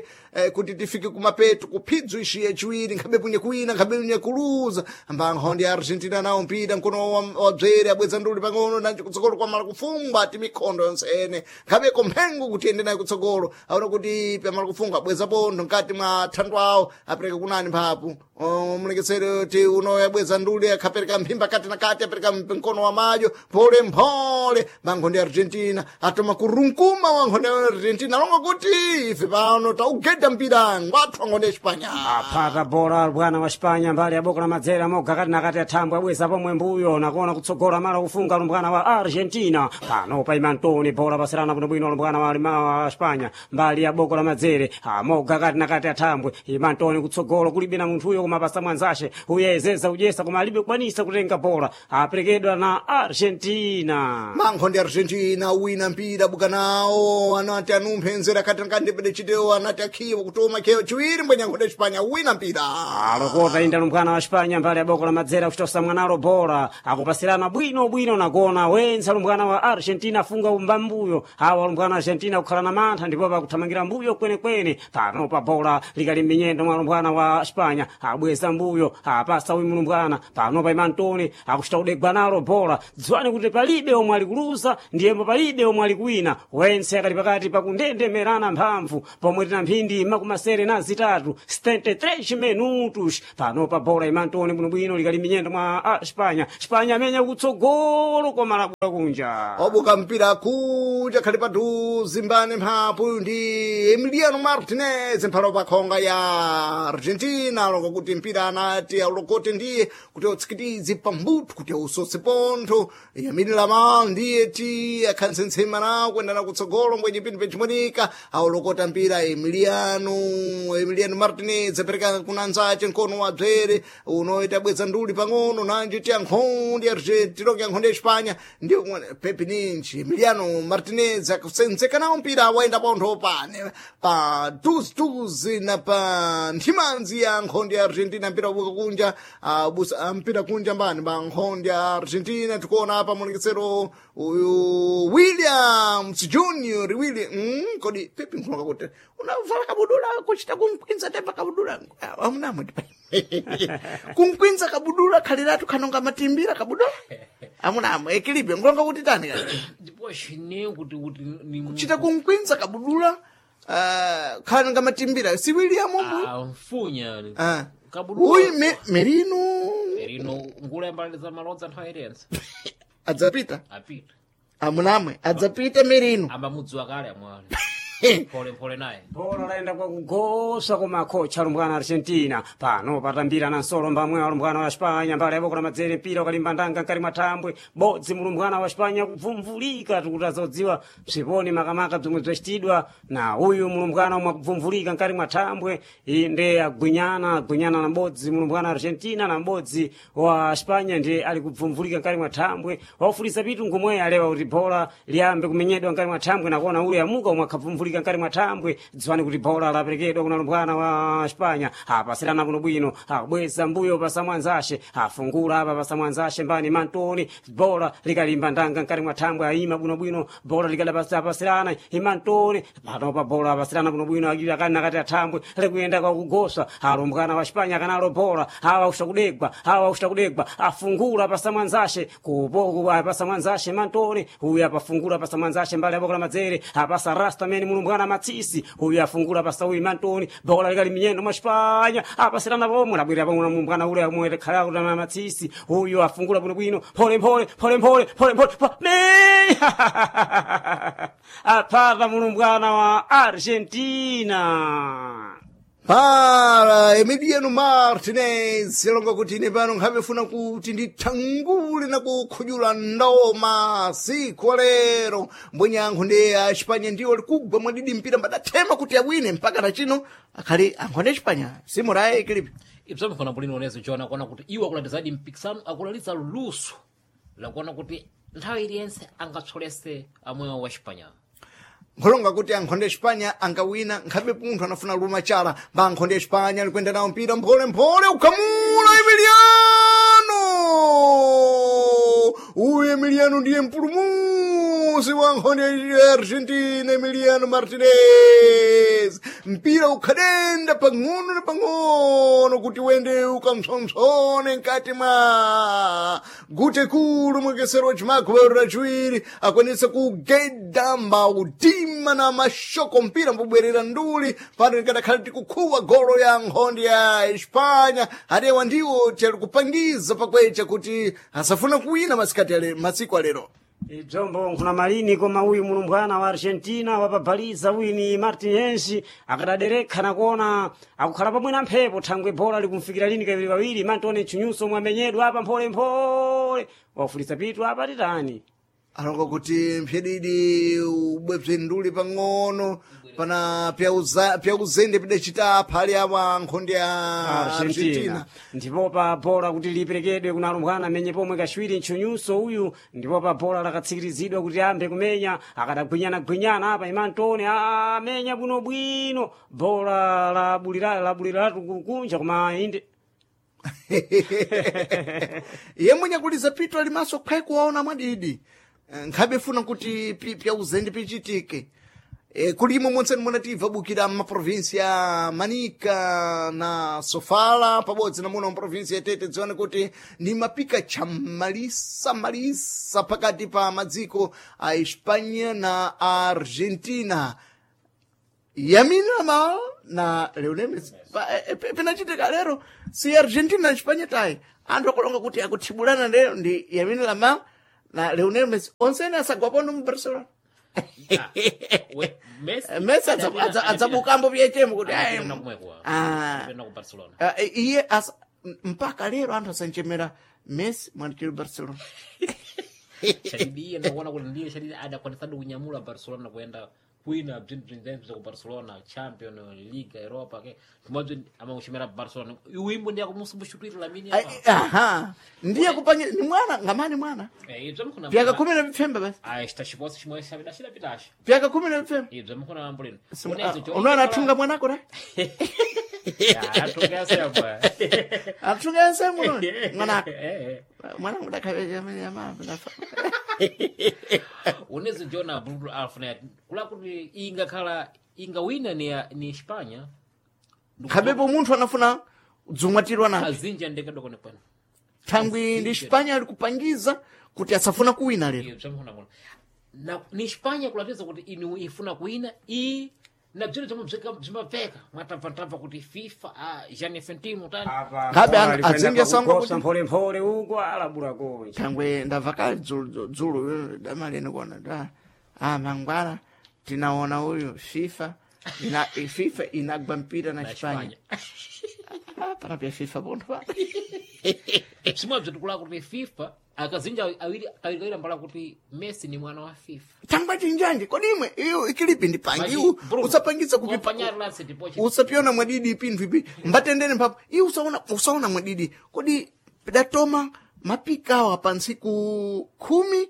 kuti tifike kumapeto kuphidzo ishi yachiwiri nkhabe punye kuwina nkhabe punye kuluza mbankhondi ya Argentina nawo mpira mkono wabzere abweza nduli pang'ono nanji kutsogolo kwamala kufungwa ati mikhondo yonse ene nkhabeko mphengo kuti ende nayo kutsogolo aona kuti pamala kufungwa abweza pontho mkati mwa thandu awo apereka kunani mphapu mulekesere ti uno yabweza nduli akhapereka mphimba kati na kati apereka mkono wa madyo mphole mphole mankhondi ya Argentina atoma kurunkuma wa nkhondo ya Argentina longa kuti ife pano taugeda mpira ngwathu wa nkhondo ya Espanya. Aphata bola bwana wa Spanya mbali ya boko la madzera moga kati na kati athambwe abweza pomwe mbuyo nakuona kutsogola mala kufunga lumbwana wa Argentina pano pa Imantoni bola pasirana bwinobwino lumbwana wa wa Spanya mbali ya boko la madzere amoga kati na kati athambwe Imantoni kutsogolo kulibe na munthuyo koma pasa mwanzashe uyezeza udyesa koma alibe kukwanisa kutenga bola aperekedwa na Argentina. Mankhondi Argentina wina mpira buka nawo anati anumphe nzera kati nakati ndipede chitewo anati akhiwa. ndiye wakutoma keo chiwiri mbwenye nkhonde Espanya wina mpira. Alokota inda lumbwana wa Espanya mbali ya boko la madzera kuchitosa mwanalo bola akupasirana bwino bwino nakona wenza lumbwana wa Argentina afunga umbambuyo awa lumbwana wa Argentina kukhala na mantha ndipo pakuthamangira mbuyo kwenekwene pano pa bola likali m'minyendo mwa lumbwana wa Espanya abweza mbuyo apasa uyu mlumbwana pano pa Imantoni akuchita kudegwa nalo bola dziwani kuti palibe omwe ali kuluza ndiyembo palibe omwe ali kuwina wense akali pakati pakundendemerana mphamvu pomwe tina mphindi makumasere na zitatu 73 minutos pano pa bola Imantoni bwinobwino likali minyendo mwa Espanya Espanya amenya kutsogolo koma labula kunja Obuka mpira kuja khali padhuze mbane mphapu ndi Emiliano Martinez mphalo pa khonga ya Argentina longa kuti mpira anati aulokote ndiye kuti autsikitize pambuto kuti ausose pontho Yamini Lamal ndiye ti akhansentsema nawo kuendana kutsogolo mbwenye pinthu pechimonika aulokota mpira Emiliano Martinez apereka kuna anzace mkono wa bzere unoita bweza nduli pang'ono nanji ti ankhondi Argentina longe ankhondi ya Espanya ndiyo Pepe Ninchi Emiliano Martinez akusenzeka nawo mpira waenda pontho pane pa duzi na pa nthimanzi ya nkhondi ya Argentina mpira ubuka kunja busa mpira kunja mbani pa nkhondi ya Argentina tikuona apa mulekesero uyu Williams Junior William kodi Pepe nkulonga kuti unavala kabudula kuchita kunkwinza tepa kabudula amunamwe kunkwinza kabudula khaliratu khanonga matimbira kabudula amunamwe ekilibe nkulonga kuti tani kani ndipo chine kuti kuti ni kuchita kunkwinza kabudula khanonga matimbira si William mbu Ah, mfunya Ah. kabudula uyu Merino Merino ngula yambalaliza malodza nthawi iliyonse adzapita apita amunamwe adzapita Merino ambamudziwa kale amwali mphole mphole naye bola laenda kwakugosa koma kocha lumbwana Argentina pano patambira na nsolo mbamwe wa lumbwana wa Espanya mbali yaboko la madzere mpira ukalimba ndanga nkali mwathambwe bodzi mulumbwana wa Espanya kubvumvulika tikuti azodziwa bziponi makamaka bzomwe bzacitidwa na uyu mulumbwana omwe akubvumvulika nkali mwathambwe inde agwinyana na m'bodzi mulumbwana wa Argentina na m'bodzi wa Espanya ndiye ali kubvumvulika nkali mwathambwe waufulisa pitu ngomwe alewa kuti bola liyambe kumenyedwa nkali mwathambwe nakuona ule amuka omwe akhabvumvulika nkali mwathambwe dziwani kuti bola laperekedwa kuna lumbwana wa Espanya apasirana bwinobwino akubweza mbuyo pasamwanzashe afungula apa pasamwanzashe mbani Mantoni bola likalimba ndanga nkali mwathambwe ayima bwinobwino bola likadapasirana imantoni panopa bola apasirana bwinobwino akili akali nakati athambwe likuyenda kwakugosa alumbwana wa Espanya akanalo bola awa usha kudegwa awa usha kudegwa afungula pasamwanzashe kupo pasamwanzashe Mantoni uyu apafungula pasamwanzashe mbali abokola madzere apasa rasta mene mulumbwana matsisi uyu afungula pasa uyu Mantoni bola likali minyendo mwa Espanya apasirana pomwe labwera pomwe mulumbwana ule amwe khala kuti matsisi uyu afungula bwinobwino phole phole phole phole phole phole me apata mulumbwana wa Argentina. Para Emiliano Martinez longa kuti ine pano nkhamefuna kuti ndithangule na kukhudyula ndoma siku lero mbwenye ankho ndi a Espanya ndiwo likugwa mwadidi mpira mbadathema kuti awine mpaka na chino akhali ankho ndi Espanya simuraye kilipi ibzomkhona bulino onezo jona kuona kuti iwo akulalizadi mpikisano akulaliza luso lakuona kuti nthawi iliyonse angatsolese amwewo wa Espanya nkhulonga kuti ankhonde Espanya angawina nkhabe munthu anafuna luma chala mba ankhonde Espanya alikwenda nawo mpira mpholemphole ukhamula Emiliano uyu Emiliano ndiye mpulumusi wa nkhonde ya Argentina Emiliano Martinez mpira ukhadenda pang'ono na pang'ono kuti wende ukamsomsone mkati mwa gute kulu mwekesero wa chimakho rachiwiri akwanisa kugeda mautima na mashoko mpira mbubwerera nduli pano likadakhala tikukhuwa golo ya nkhondi ya Espanya adewa ndiwo tiyali kupangiza pakwecha kuti asafuna kuwina masikati ale masiku alero Idzombo nkhuna malini koma uyu mulumbwana wa Argentina wapabhaliza uyu ni Martinez akadaderekha nakuona akukhala pamwe na mphepo thangwe bola likumfikira lini kawiri kawiri Mantoni chinyuso omwe amenyedwa apa mpholemphole wafulisa pitu apa titani. Alonga kuti mphyedidi ubwebze nduli pang'ono pana pyauzende pidacita aphale awa nkhondo ya Argentina Argentina. ndipo pa bola kuti liperekedwe kuna alumbwana amenye pomwe kachiwiri ntchunyuso uyu ndipo pa bola lakatsikirizidwa kuti ambe kumenya akadagwinyana-gwinyana apa imantone amenya bwinobwino bola labuliratu kunja koma inde Iye mwenye kuliza pito alimaso khwayi kuwaona mwadidi. Nkhabe funa kuti pyauzende pichitike. Kulimo monse munativa bukira m'maprovinsi ya Manica na Sofala pabodzi na muno mprovinsi ya Tete dzione kuti ni mapika chamalisa malisa pakati pa madziko a Espanha na Argentina. Yamin Yamal na Lionel Messi pinachitika lero si Argentina na Espanha tayi anthu akulonga kuti akuthibulana lero ndi Yamin Yamal na Lionel Messi onsene asagwapono mu Barcelona. Messi Messi adzabukambo pyechemo kuti ayi, Adapita kumweko. ah, Adapita ku Barcelona. ah, iye mpaka lero anthu asanchemera Messi mwanikiri Barcelona. Shadidi iye ndakuona kuti ndiye Shadidi adakwanisadi kunyamula Barcelona kuyenda kwina bzinthu bzinzense ku Barcelona Champion Liga Europa ke tumabzi amakuchimera Barcelona uwimbo ndiye akumusubushutwira Lamine Ai, apa aha ndiye kupanye ni mwana ngamani mwana eh ibzo mkhona pyaka 15 basi ah esta chiposi chimwe sabida chidapitacho pyaka 15 ibzo mkhona ambulino unaona athunga mwanako ra athunga yasebwa athunga yasemu mwanako mwanangu dakhaveamama unezo jona bruno alfred kula kuti ingakhala ingawina ni Espanya khabepo munthu anafuna dzumwatirwa naye azinja ndekadokone kwene thangwi ndi Espanya ali kupangiza kuti asafuna kuwina lero Iyo, bzamkhona na ni Espanya kulatiza kuti inu ifuna kuwina i na bzino zomwe bzimabveka mwatabvatabva kuti FIFA ah, Gianni Infantino tani apa Ngabe bola likwenda adzinge sango pakugosa kuti- mpholemphole uko alabula kunja thangwe ndabva kale dzulo dzulo damaleni kuona da ah mangwana tinaona uyu FIFA ina FIFA inagwa mpira na na Espanya Espanya ah panapya FIFA pontho pa bzimwe bzitikula kuti FIFA akazinja awiri kawiri kawiri ambala kuti Messi ni mwana wa FIFA thangwe tinjanje kodi imwe iyo ikilipi ndipangi Maji, iwu Bruno, usapangiza kupipa kompanyari la Setipoche. usapiona mwadidi pinthu ipi mbatendene mphapo iye usaona usaona mwadidi kodi pidatoma mapikawa pa ntsiku 11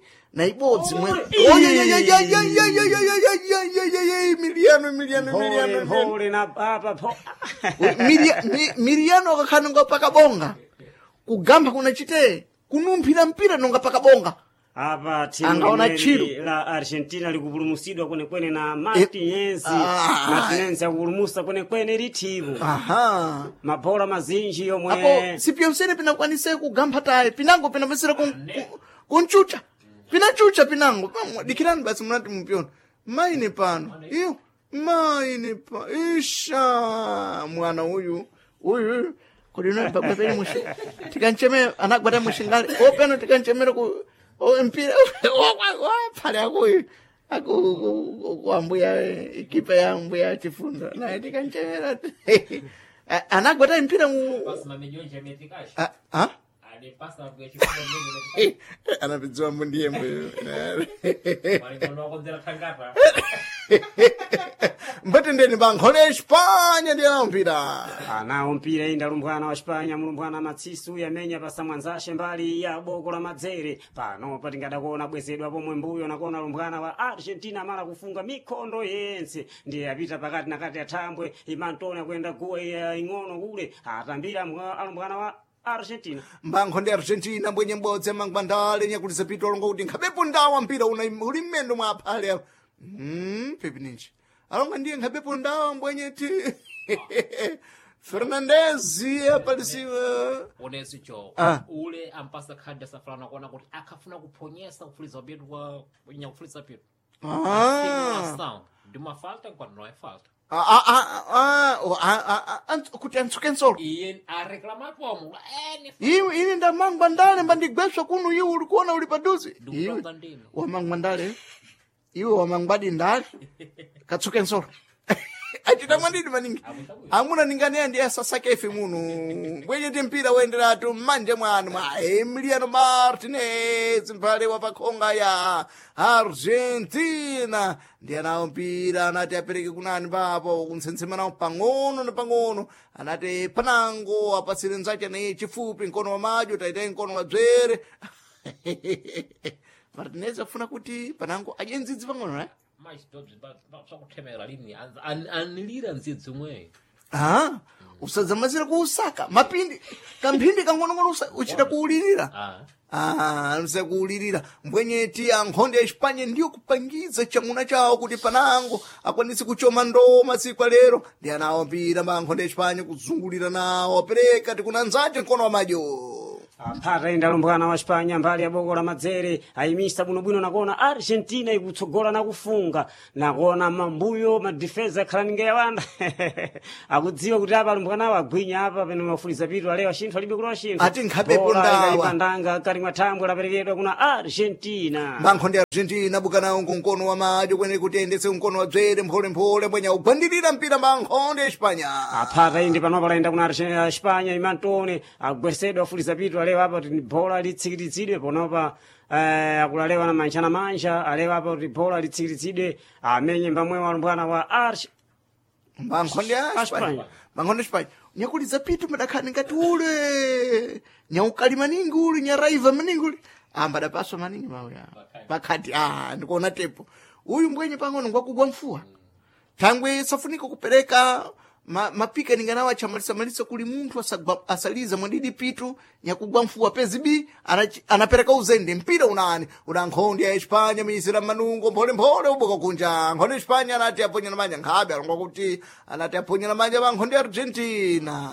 mwe Emiliano Emiliano Emiliano mpholemphole na apa pho Miriano akakhala nonga pakabonga kugamba kunachite kunumphira mpira nonga pakabonga apa timu Angaona limene tchiro. la Argentina likupulumutsidwa kwenekwene na Martinez Ah. Martinez akupulumutsa kwenekwene lithimu aha mabola mazinji apo yomwe sipyonsene pinakwanise kugamba tayi pinango pinapesera kunchucha pinachucha pinango Pamwe, dikirani basi munati mupyona maine pano iyo maine pa isha mwana uyu uyu kodi unabagwapeni mushi tikanchemera anagwata mushingale openo tikanchemera ku o mpira phale akuyu aku kuambuya ikipa ya mbuya chifundo naye tikanchemera anagwata mpira mu Pasa mamenyonja ametikashi. Ah, ah? Ade pasa mbuya chifundo mmenye anapidziwa mbundiye mbuyo Malingano wakonzera thangata. mbatendeni bankhole Espanya ndiye mpira anawo mpira inda lumbwana wa Spanya mulumbwana matsisu yamenya pasamwanzashe mbali ya boko la madzere pano patingadakuona bwezedwa pomwe mbuyo nakuona lumbwana wa Argentina amala kufunga mikhondo yense ndiye apita pakati na kati ya thambwe imantoni akuyenda guwa iya ing'ono kule atambira alumbwana wa Argentina mbankho ndi Argentina mbwenye mbodzi amangwandale nyakulisa pito alonga kuti nkhabepo ndawa mpira una uli mmendo mwa aphale apo pepi ninji alonga ndiye nkhabepo ndawa mbwenye ti Fernandez apalisiwa Oneso cho Ah. ule ampasa khadi asafulana kuona kuti akhafuna kuphonyesa kufuliza petu kwa nyakufuliza petu. ah. Sound. Ndima falta nkwano no é falta. Ah, ah, ah, ah, ah, ah, ah, kuti antsuke nsolo Iye areclamar como? É, ne iwe ine ndamangwa ndale mbandigweswa kuno iwe ulikuona uli paduze iwe Ndikutonga ndine. wamangwa ndale iwe wamangwadi ndale katsuke nsolo Achita mwadidi maningi. Amuna ninganeya ndiye asasake ife muno. Bwenye mpira woenderatu mmanja mwanu mwa Emiliano Martinez mphale wa pakhonga ya Argentina. Ndiye nawo mpira anati apereke kunani papo kuntsensema nawo pang'ono na pang'ono. Anati panango apatsire nzache naye chifupi mkono wa madyo taitaye mkono wa dzere. Martinez afuna kuti panango adye ndzidzi pang'ono eh? Swakuthemera lini anilira ndzidzi umweyo. Ah, usadzamazira kuusaka mapindi kamphindi kang'onong'ono uchita kuulirira. Ah. Ah, kuulirira mbwenye ti ankhonde ya Espanya ndiyo kupangiza chamuna chawo kuti panango akwanise kuchoma ndoo masiku alero. Ndi anawo mpira ma ankhonde ya Espanya kuzungulira nawo apereka tikunanzace mkono wa madyo. Aphata indi alumbwana wa Espanya mbali ya boko la madzere ayimisa bwinobwino nakuona Argentina ikutsogola nakufunga nakuona mambuyo madifeza akhala ninga yawanda akudziwa kuti apa alumbwanawo agwinya apa pene mafuliza pitu alewa xinthu alibe kulowa xinthu. Ati nkhapepo Bola ndawa. ikalipa ndanga kali mwa thambwe laperekedwa kuna Argentina. Mankhonde ya Argentina bukanawo nkunkono wa madyo kwene kuti ayendetse mkono wa dzere mpholemphole mbwenya ugwandirira mpira mankhonde ya Espanya. Aphata indi panopa layenda kuna Espanya imantone agwesedwa afuliza pitu alewa apa kuti bola litsikiritsidwe ponopa akulalewa na manja na manja alewa apa kuti bola litsikiritsidwe amenye mbamwewo alumbwana wa Arch Mankhonde ya Espanya. Espanya. Mankhonde ya Espanya. Nyakuliza pitu madakhani ngati ule. Nyaukali maningi ule, nyaraiva maningi ule. Amba adapaswa maningi mauya. Pakati ah ndikuona tepo. Uyu mbwenye pang'ono ngwakugwa mfuwa. Thangwe safunika kupereka mapika ninganawo achamalisamalisa kuli munthu asaliza mwadidi pitu nyakugwa mfuwa pezi anapereka uzende mpira unani una nkhonde ya Espanya miyisira manungo mpholemphole uboka kunja nkhonde ya Espanya anati aponyana manja nkhabe alongwa kuti anati aponyana manja pa nkhonde ya Argentina.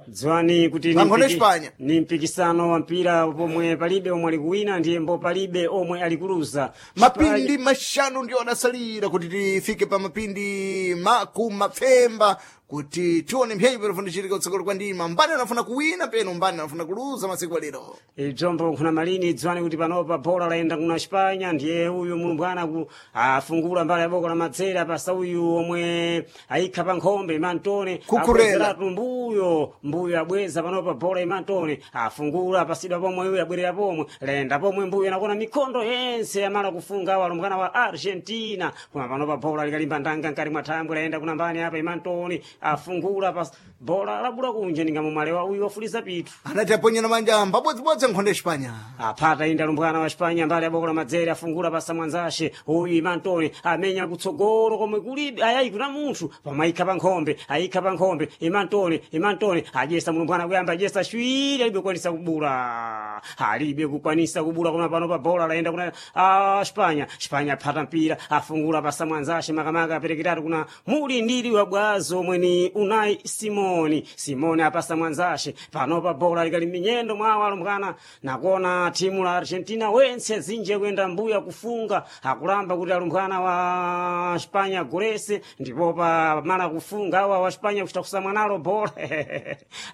Dziwani kuti ni Mankhonde Espanya. ni mpikisano wa mpira pomwe palibe omwe ali kuwina ndiye mbo palibe omwe ali kuluza. Mapindi mashanu ndio adasalira kuti tifike pa mapindi makumapfemba kuti tione mphenyi panofunika kutsogolo kwa ndima mbani anafuna kuwina peno mbani anafuna kuluza masiku alero. Ibzombo nkhuna malini dziwani kuti panopa bola layenda kuna Espanya ndiye uyu mulumbwana ku afungula mbali ya boko la madzera pasa uyu omwe ayikha pa nkhombe imantone Kukurela. abwezeratu mbuyo mbuyo abweza panopa bola imantone afungula apasidwa pomwe uyu abwerera pomwe layenda pomwe mbuyo anakona mikhondo yense yamala kufunga awo alumbwana wa Argentina koma panopa bola likalimba ndanga nkati mwa thambwe layenda kuna mbani apa imantone afungula pas bola labula kunja ningamumalewa uyu wafuliza pitu. Anati aponyana manja mbabodzibodzi nkhonde Espanya. Aphata indi alumbwana wa Espanya mbali ya boko la madzere afungula pasa mwanzashe uyu imantone amenya kutsogolo komwe kulibe ayayi kuna munthu pamwe ayikha pa nkhombe ayikha pa nkhombe imantone imantone adyesa mulumbwana kuyamba adyesa shwiri alibe kukwanisa kubula alibe kukwanisa kubula koma pano pa bola layenda kuna Espanya Espanya aphata mpira afungula pasa mwanzashe makamaka aperekeratu kuna mulindiri wa bwazo omwe ni Unai Simoni Simoni apasa mwanzashe panopa bola likali minyendo mwawo alumbwana nakuona timu la Argentina wense zinje kuyenda mbuya kufunga akulamba kuti alumbwana wa Espanya agolese ndipo pa mala kufunga awa wa Espanya kuchita kusamwa nalo bola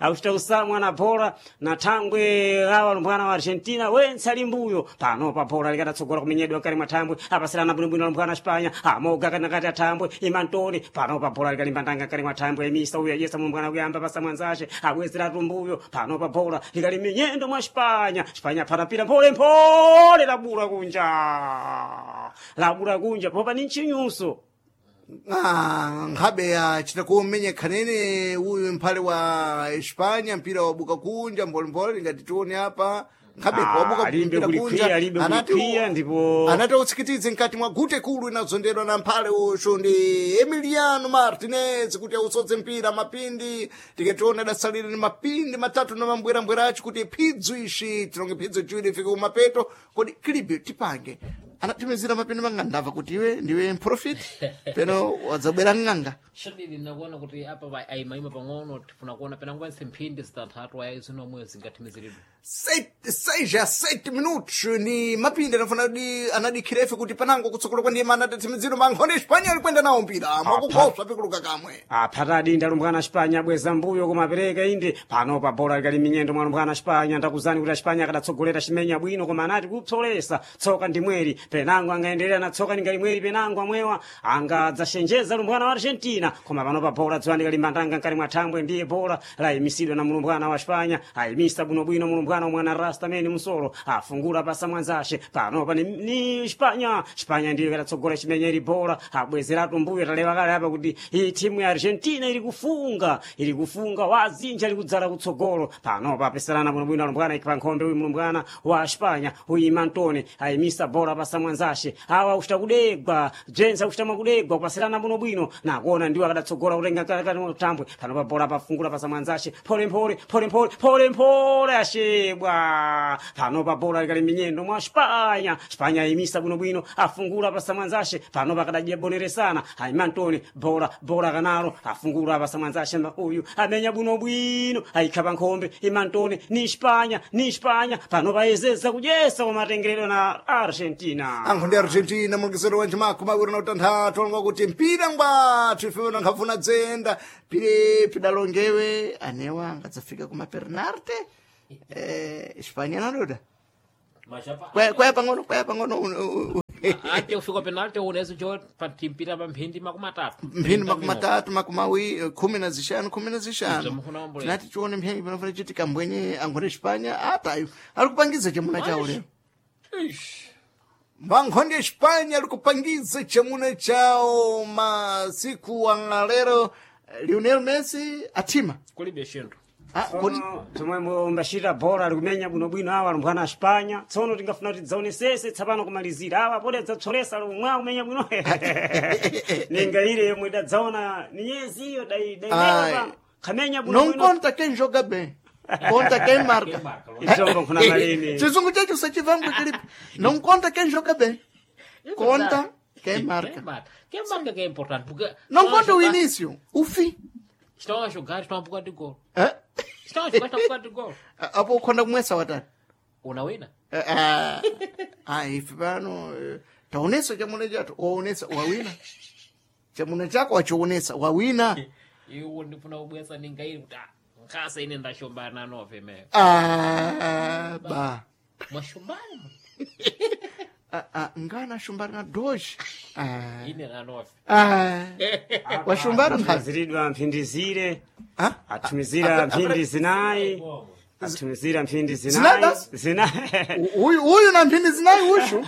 akuchita kusamwa na bola na thangwe awa alumbwana wa Argentina wense ali mbuyo panopa bola likatatsogola kumenyedwa kali mwa thambwe apasilana bwinobwino alumbwana wa Espanya amoga kanakati athambwe imantoni panopa bola likalimba ndanga kali mwa thambwe imisa uyo ayesa mulumbwana kuyamba pasa mwanzace abwezeratu mbuyo panopa bola likali minyendo mwa Espanya Espanya phata mpira mpholemphole labula kunja labula kunja popa ni nchinyuso. Ah, nkhabe achita kumenya khanene uyu mphale wa Espanya mpira wabuka kunja mpholemphole ngati tione apa nkhabe Ah, wabuka alimbe mpira kulikwiya, kunja alimbe anati kulikwiya, ndipo- anati utsikitidze mkati mwa gute kulu inazondedwa na mphale ucho ndi Emiliano Martinez kuti ausodze mpira mapindi tikationa adasalira ni mapindi matatu na mambwerambwera acho kuti phidzo ishi tilonge phidzo chiwiri ifike kumapeto kodi kilibe tipange anatimizira mapindi manga ndamva kuti iwe ndiwe mprofiti peno wadzabwera ng'anga. Shadidi nakuona kuti apa ayimayima pang'ono tifuna kuona penangwense mphindi zitanthatu ayayi zinomwe zingathimiziridwe. 6 a 7 minutos ni mapindi anafuna di anadikhira ife kuti panango kutsogolo kwa ndima anatatsimiziro mankhonde Espanya ali kwenda nawo mpira mwakukoswa pikuluka kamwe. Aphatadi ndalumbwana Espanya abweza mbuyo koma apereka inde panopa bola likali minyendo mwa lumbwana Espanya. Ndakuzani kuti Espanya akadatsogolera chimenya bwino koma anati kupsolesa tsoka ndi mweri penango angaendelera na tsoka ningali mweri penango amwewa angadzashenjeza lumbwana wa Argentina koma panopa bola dziwani kali mbandanga nkali mwa thambwe ndiye bola layimisidwa na mulumbwana wa Espanya ayimisa bwinobwino mulumbwana mwana Rasta mene musolo afungula pasa mwanzashe panopa ni Espanya. Espanya ndiyo ikatsogola chimenya ili bola abwezeratu mbuyo talewa kale apa kuti iyi timu ya Argentina iri kufunga iri kufunga wazinja iri kudzala kutsogolo panopa apeserana bwinobwino alumbwana ikpa nkhombe uyu mulumbwana wa Espanya uyu Mantone ayimisa bola pasa mwanzashe awa akuchita kudegwa Jensa akuchita mwakudegwa kupaserana bwinobwino nakuona ndiwo akadatsogola kutenga kati tambwe panopa bola pafungula pasa mwanzashe pole mpole pole mpole pole mpole ashebwa panopa bola likali minyendo mwa Espanya. Espanya ayimisa bwinobwino afungula pasa mwanzashe panopa akadajia boneresana ayimantone bola bola kanalo afungula pasa mwanzashe uyu amenya bwinobwino ayikhapa nkhombe imantone ni Espanya ni Espanya panopa ayezeza kudyesa kwa na Argentina. Ankhonde Argentina mulekesero wa njimakho mawiri na utanthatu alonga kuti mpira ngwathu ife nankhafuna dzenda pire pidalongewe anewa angadzafika kuma pernarte Espanya nadoda kwaya pang'ono kwaya pang'ono ate kufika penalty unezo cho patimpira pa mphindi makumi atatu mphindi makumi atatu makumi awiri 15 15 Zvamukunaombolera. tinati tione mphindi panofana chitika mbwenye ankhonde Espanya atayo ali kupangiza chamuna chawo lero. Vankhonde Espanya ali kupangiza chamuna chawo masiku angalero Lionel Messi atima. Kulibe shinthu. Ah, kodi Tsono tomwe mbachita bola ali kumenya bwinobwino awa alumbwana a Espanya tsono tingafuna kuti tidzaonesese tsapano kumalizira awa pode adzatsolesa lomwe kumenya bwino ninga ile yomwe idadzaona ninyezi iyo Ai. dailewa kamenya não bwinobwino conta quem joga bem, conta quem marca. Idzombo nkhuna malini. Chizungu chacho sachivangwe chilipo. Não conta quem joga bem, conta quem marca. Quem marca que é importante porque Não conta o início, o fim. Estão a jogar, estão a bocado de gol. Eh? Estão a jogar, estão a bocado de gol. Apo ukhonda kumwesa watani. Unawina. Ah, ah, ife pano taonesa chamuna chato waonesa wawina chamuna chako wachionesa wawina. Iwo ndifuna kubwesa ninga ili kuti ah, nkasa ine ndashombana nove me. Ah, ba. Mwashombana Ah, ah, ngana shumbana na doji. Ah, ine nanove. ah. Washumbana nkhazi. Atumizidwa mphindi zire Ah? atumizira mphindi zinayi atumizira mphindi Zinayi zinayi basi? zinayi Uyu uyu na mphindi zinayi ushu.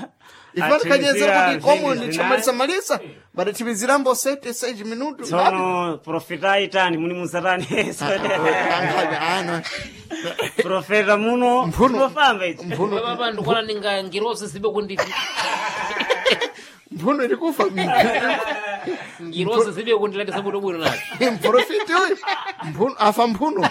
Ifana kanyezera Atumizira kuti komo mphindi ndichamalisa malisa badatimizirambo sete 6 minutos. tsono profeta itani muni muzatani Ano. profeta muno Mphuno. mufamba ichi Mphuno Baba ndikuona ninga ngirosi zibe kundi mphuno iri kufa. ngirosi zibe kundilandisa bwino bwino nazo. Mprofiti uyu mphuno afa mphuno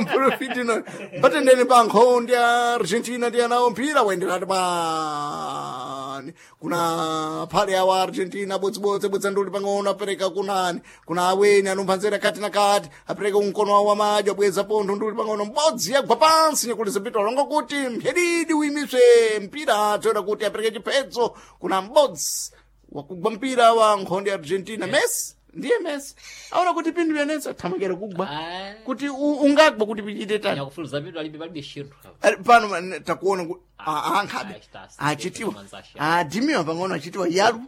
mprofiti no patendeni pa nkhondi ya Argentina ndi anawo mpira waenderati pani kuna phale awa Argentina bodzibodzi abwedza nduli pang'ono apereka kunani kuna aweni anumphanzera kati na kati apereka umkono wawo wamadyo abweza pontho nduli pang'ono mbodzi yagwa pansi nyakuliza mpira alonga kuti mphedidi uyimiswe mpira toera kuti apereke chiphedzo kuna mbodzi wakugwa mpira wa nkhondi ya Argentina Messi ndiye Messi aona kuti pindu yanetsa thamakera kugwa Ah. kuti ungagwa kuti pichite tani Nyakufuliza vitu alibe palibe shinthu. Ali pano takuona ankhabe Ah, achitiwa manzasha. adimiwa pang'ono achitiwa yalu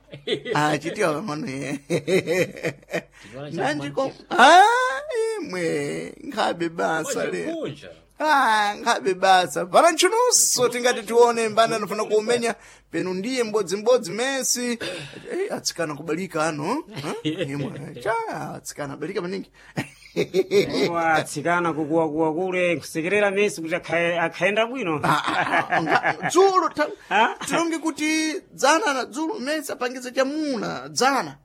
achitiwa pang'ono Chinywana cha nanjiko imwe nkhabe basa le Kunja. Ah, nkhabe basa pana ntchunuso tingati tione mbani anofuna kuumenya penu ndiye mbodzimbodzi Messi. Atsikana kubalika ano. Eh, imwe cha atsikana abalika maningi. Watsikana kukuwakuwa kule nkusekerera Messi kuti akhaenda bwino. Dzulo Ah? tilonge kuti dzana na dzulo Messi apangiza chamuna dzana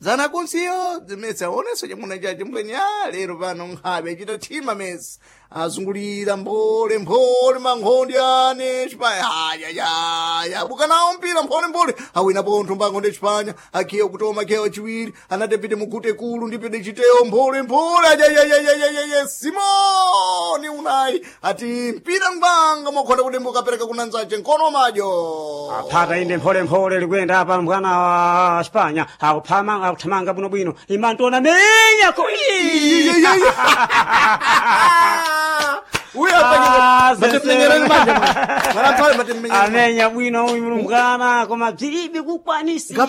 dzana konsiyo Messi aonesa chamuna chache mbwenye lero pano nkhabe achita thima Messi. Azungulira mphole mphole mankhondi ane Espanya. Ayayaya bukanawo mpira mphole mphole awina pontho mbankhonde Espanya akhiya kutoma akhiya wachiwiri anatepite mugute kulu ndipite chiteyo mphole mphole ayayayayayaya Simoni Unai ati mpira ngwanga mokhonda kudembuka apereka kunanzace nkono madyo Aphata inde mpholemphole likwenda apa mbwana wa Espanya akuphama akuthamanga bwinobwino imantona menya ko amenya bwino uyu mulumbwana koma bzilibe kukwanisika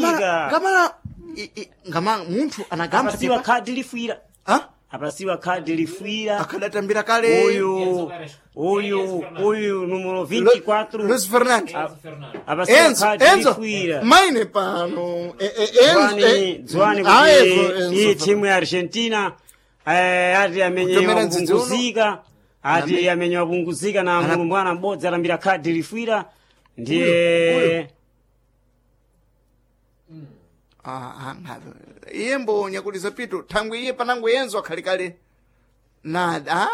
ngama munthu anagamba apasiwa khadi lifwira Ha? apasiwa khadi lifwira akadatambira kale uyu uyu uyu numero 24 Luis Fernando apasiwa Enzo khadi Enzo lifwira maine pano Enzo Dzwani dzwani Ah, kuti Enzo, iyi Enzo. timu ya Argentina ati amenye Kutomera ndzidzi uno. wapunguzika ati amenye wapunguzika na mulumbwana m'bodzi atambira khadi lifwira ndiye Ah, ah, ngabe. Iye mbonya kuti zapito thangwe iye panango Enzo akhali kale na ah,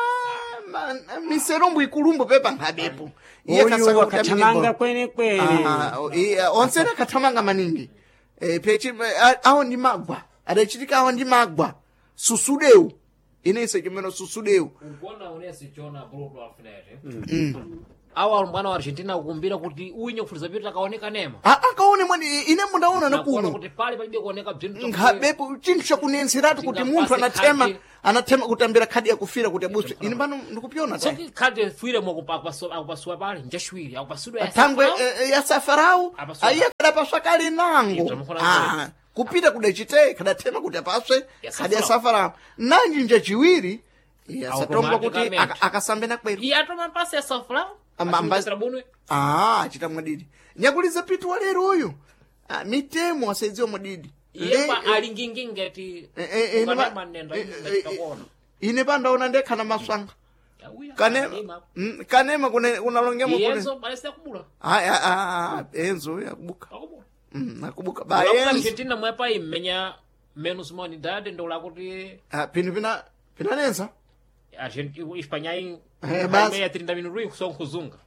miserombo ikulumbo pepa nkhabepo Iye uyu kasaka kuti amenye akathamanga bolo. kwenekwene Ah, onse akathamanga maningi pechi awo ndi magwa adachitika awo ndi magwa susudewu inense chimene susudewu Ugona unesi chona bruto alfinete awa mwana wa Argentina akukumbira kuti uyu nyakufuliza pito akaoneka nema akaone mwani ine mundaona Nakuona nakuno kuti pali palibe kuoneka bzinthu nkhabepo chinthu chakunenseratu kuti munthu anathema Khadi. anathema kutambira khadi yakufira kuti abuswe ine pano ndikupyona ta soki khadi fuire akupasuwa pali njachiwiri akupasidwa thangwe ya safarau Apaswa. aiye kadapaswa kale nango Ibzo mukhola Ah, kupita kudachite kadathema kuti apaswe Ya khadi ya safarau. safarau nanji njachiwiri yasatongwa kuti Automaticamente. akasambe nakwero iye atoma mpasi ya safarau Amba- bunwe Ah, achita mwadidi nyakuliza pitu walero uyu ah, mitemo asaidziwa mwadidi iye pa ali ngati ukanema nenda ndachitakuona ine pandaona ndekhana maswanga kanema kanema kunalongemo kune iyenso palese akubula Ai, ai, ai, enzo uyu akubuka akubula Akubuka ba Ulakuti enzo Argentina mwepa imenya menos humanidade ndolakuti Ah, pino pina pinanenza Espanha Eh, basi. ya 30 minutos kusonga kuzunga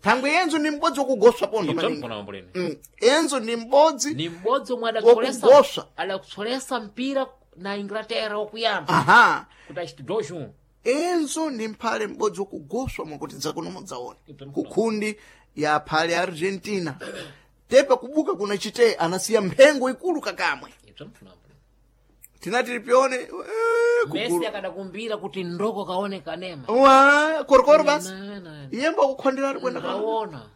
thangwe enzo ni m'bodzi wokugoswa pondo maningi mkona mamboleni Enzo ni m'bodzi ni m'bodzi omwe Wokugoswa. adakutsolesa mpira na Inglaterra wokuyamba aha kuti achiti dojun enzo ni mphale m'bodzi wokugoswa mwakuti dzakuno mudzaone Ibzo mkona. kukhundi ya phale Argentina tepa kubuka kuna chite anasiya mphengo ikulu kakamwe tinati tipione Messi kugulu akadakumbira kuti ndoko kaone kanema wa korokoro basi Na, na, na. iyemba kukhondera kwenda ka Kaona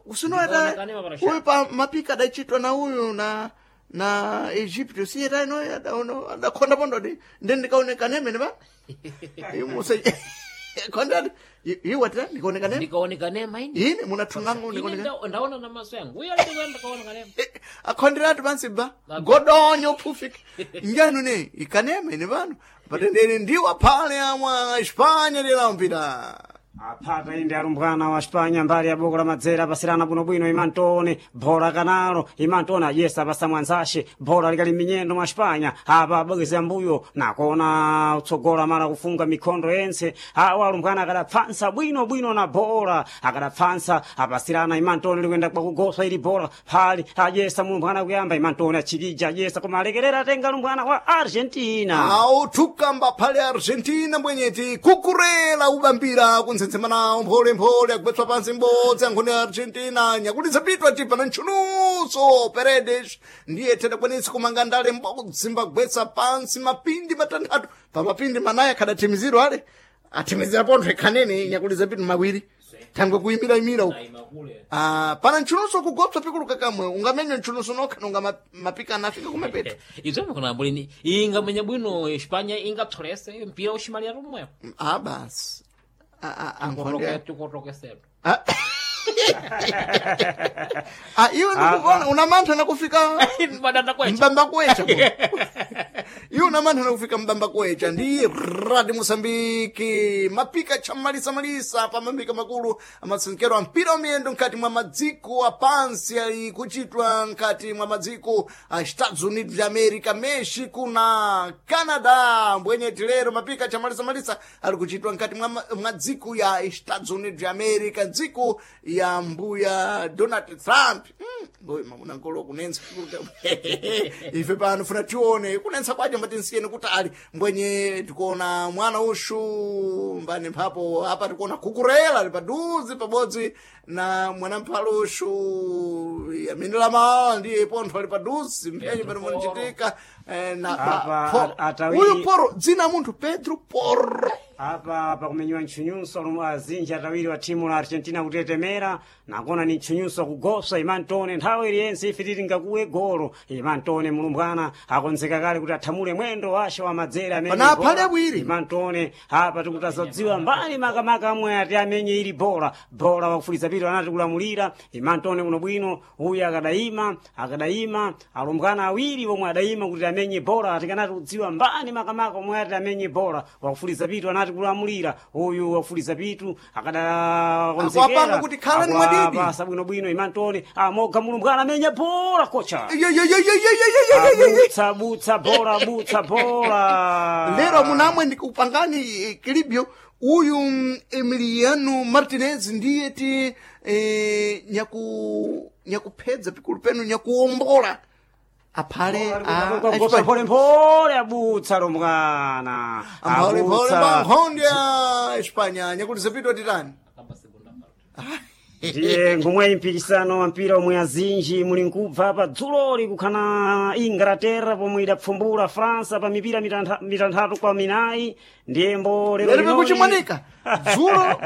usinoeta Kanema pana uyu pa mapika adachitwa na uyu na na Egypto siyeta ino adaono adakhonda pondo di ndi ndikaoneka nemene pa imuse khonda iwatira ndikaoneka neme ndikaone kanema ine ine munathungango Ine ndikaoneka ndaona na maso yangu uyo alikuwa ndikaona kanema akhonderatu pansi ba godonyo phufika njanu ne ikanema ine pano patendere ndiwa phale amwa Espanya lirampira aphata inde arumbwana wa Espanya mbali ya boko la madzera apasirana bwinobwino imantone bhola kanalo imantone ajesa apasa mwanzashe bhola likali minyendo mwa Espanya apa abwekeza mbuyo nakona utsogola mala kufunga mikhondo yense awa arumbwana akadapfansa bwinobwino na bhola akadapfansa apasirana imantone likwenda kwakugoswa ili bhola phali ajesa mulumbwana kuyamba imantone achikija ajesa koma alekerera atenga arumbwana wa Argentina awo thukamba phale Argentina mbwenyeti kukurela ubambira kuntsensema nawo mpholemphole akupetswa pansi m'bodzi ankhoni ya Argentina nyakulitsa pitwa tipa na ntchunuso Paredes ndiye thedakwanitsa kumanga ndale m'bodzi mbagwetsa pansi mapindi matanthatu pa mapindi manayi akhadathimizidwa ale athimizira pontho ikhanene nyakulitsa pitu mawiri thangwe kuyimira-imira uku Imakule Ah, pana ntchunuso kugopsa pikulu kakamwe ungamenywa ntchunuso nokha nonga mapika anafika kumapeta Ibzo mkona mamboleni ingamenya bwino Espanya ingapsolese mpira ushimalira tomwepo Ah, basi. Ah, ah, ankhonde. tikotokesedwa Ah. Ah, iwe ndikukuona una mantha nakufika madanda kwecha mbamba kwecha. Iwe Una manthana kufika mbamba kwecha ndi Radio Mosambiki mapika chamalisamalisa pa mambika makulu amatsenekero a mpira wamiyendo mkati mwa madziko apansi ali kuchitwa mkati mwa madziko a Estados Unidos de America, Mexico na Canada. Mbwenyeti lero mapika chamalisamalisa ali kuchitwa mkati mwa dziko ya Estados Unidos de America, dziko ya mbuya Donald Trump. Ngoyi mamuna nkolo kunensa ife pano funa tione kunensa kwacho mbatinsiyeni kuti ali mbwenye tikuona mwana ushu mbani mphapo apa tikuona kukurela ali paduze pabodzi na mwanamphalo ushu yaminilama ndiye pontho ali paduze mphenye pano munachitika na Apa, uyu poro dzina munthu Pedro Porro. Apa pakumenyiwa ntchunyunso alomwe azinji atawiri wa thimu la Argentina kutetemera nakona ni ntchunyunso akugosa Imantone nthawi iliyense ife tili ngakuwe golo. Imantone mulumbwana akonzeka kale kuti athamule mwendo wace wa madzere amene Pana aphale awiri. Imantone apa tikutazodziwa mbali makamaka amwe ati amenye ili bola bola wakufuliza pito anati kulamulira Imantone kuno bwino uyu akadayima akadayima alumbwana awiri omwe adayima kuti amenye bola atikanati kudziwa mbani makamaka omwe ati amenye bola wakufuliza pitu anati kulamulira uyu wakufuliza pitu akadakonzekera Akuwapanga kuti khalani mwadidi. Akuwapasa bwinobwino Imantone amoga mulumbwana amenya bola kocha Yo, yo, yo, yo, yo, yo, yo, yo, yo, yo. abutsa butsa bola butsa bola Lero munamwe ndikupangani kilibyo uyu Emiliano Martinez ndiye ti nyakuphedza pikulu penu nyakuwombola aphale Gosa pole pole abutsa lomwana amphalepole pankhondo ya Espanya nyakuti zapitwa titani. Akamba segunda parte. Ndiye ngomwe mpikisano wa mpira omwe azinji muli nkubva pa dzuloli kukhana Inglaterra pomwe idapfumbula Fransa pa mipira 6-4. Ndiyembo lero lero linoli- pikuchimanika dzulo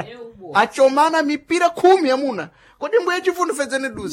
achomana mipira 10 amuna kodi mbuye chifundo fedzene duze.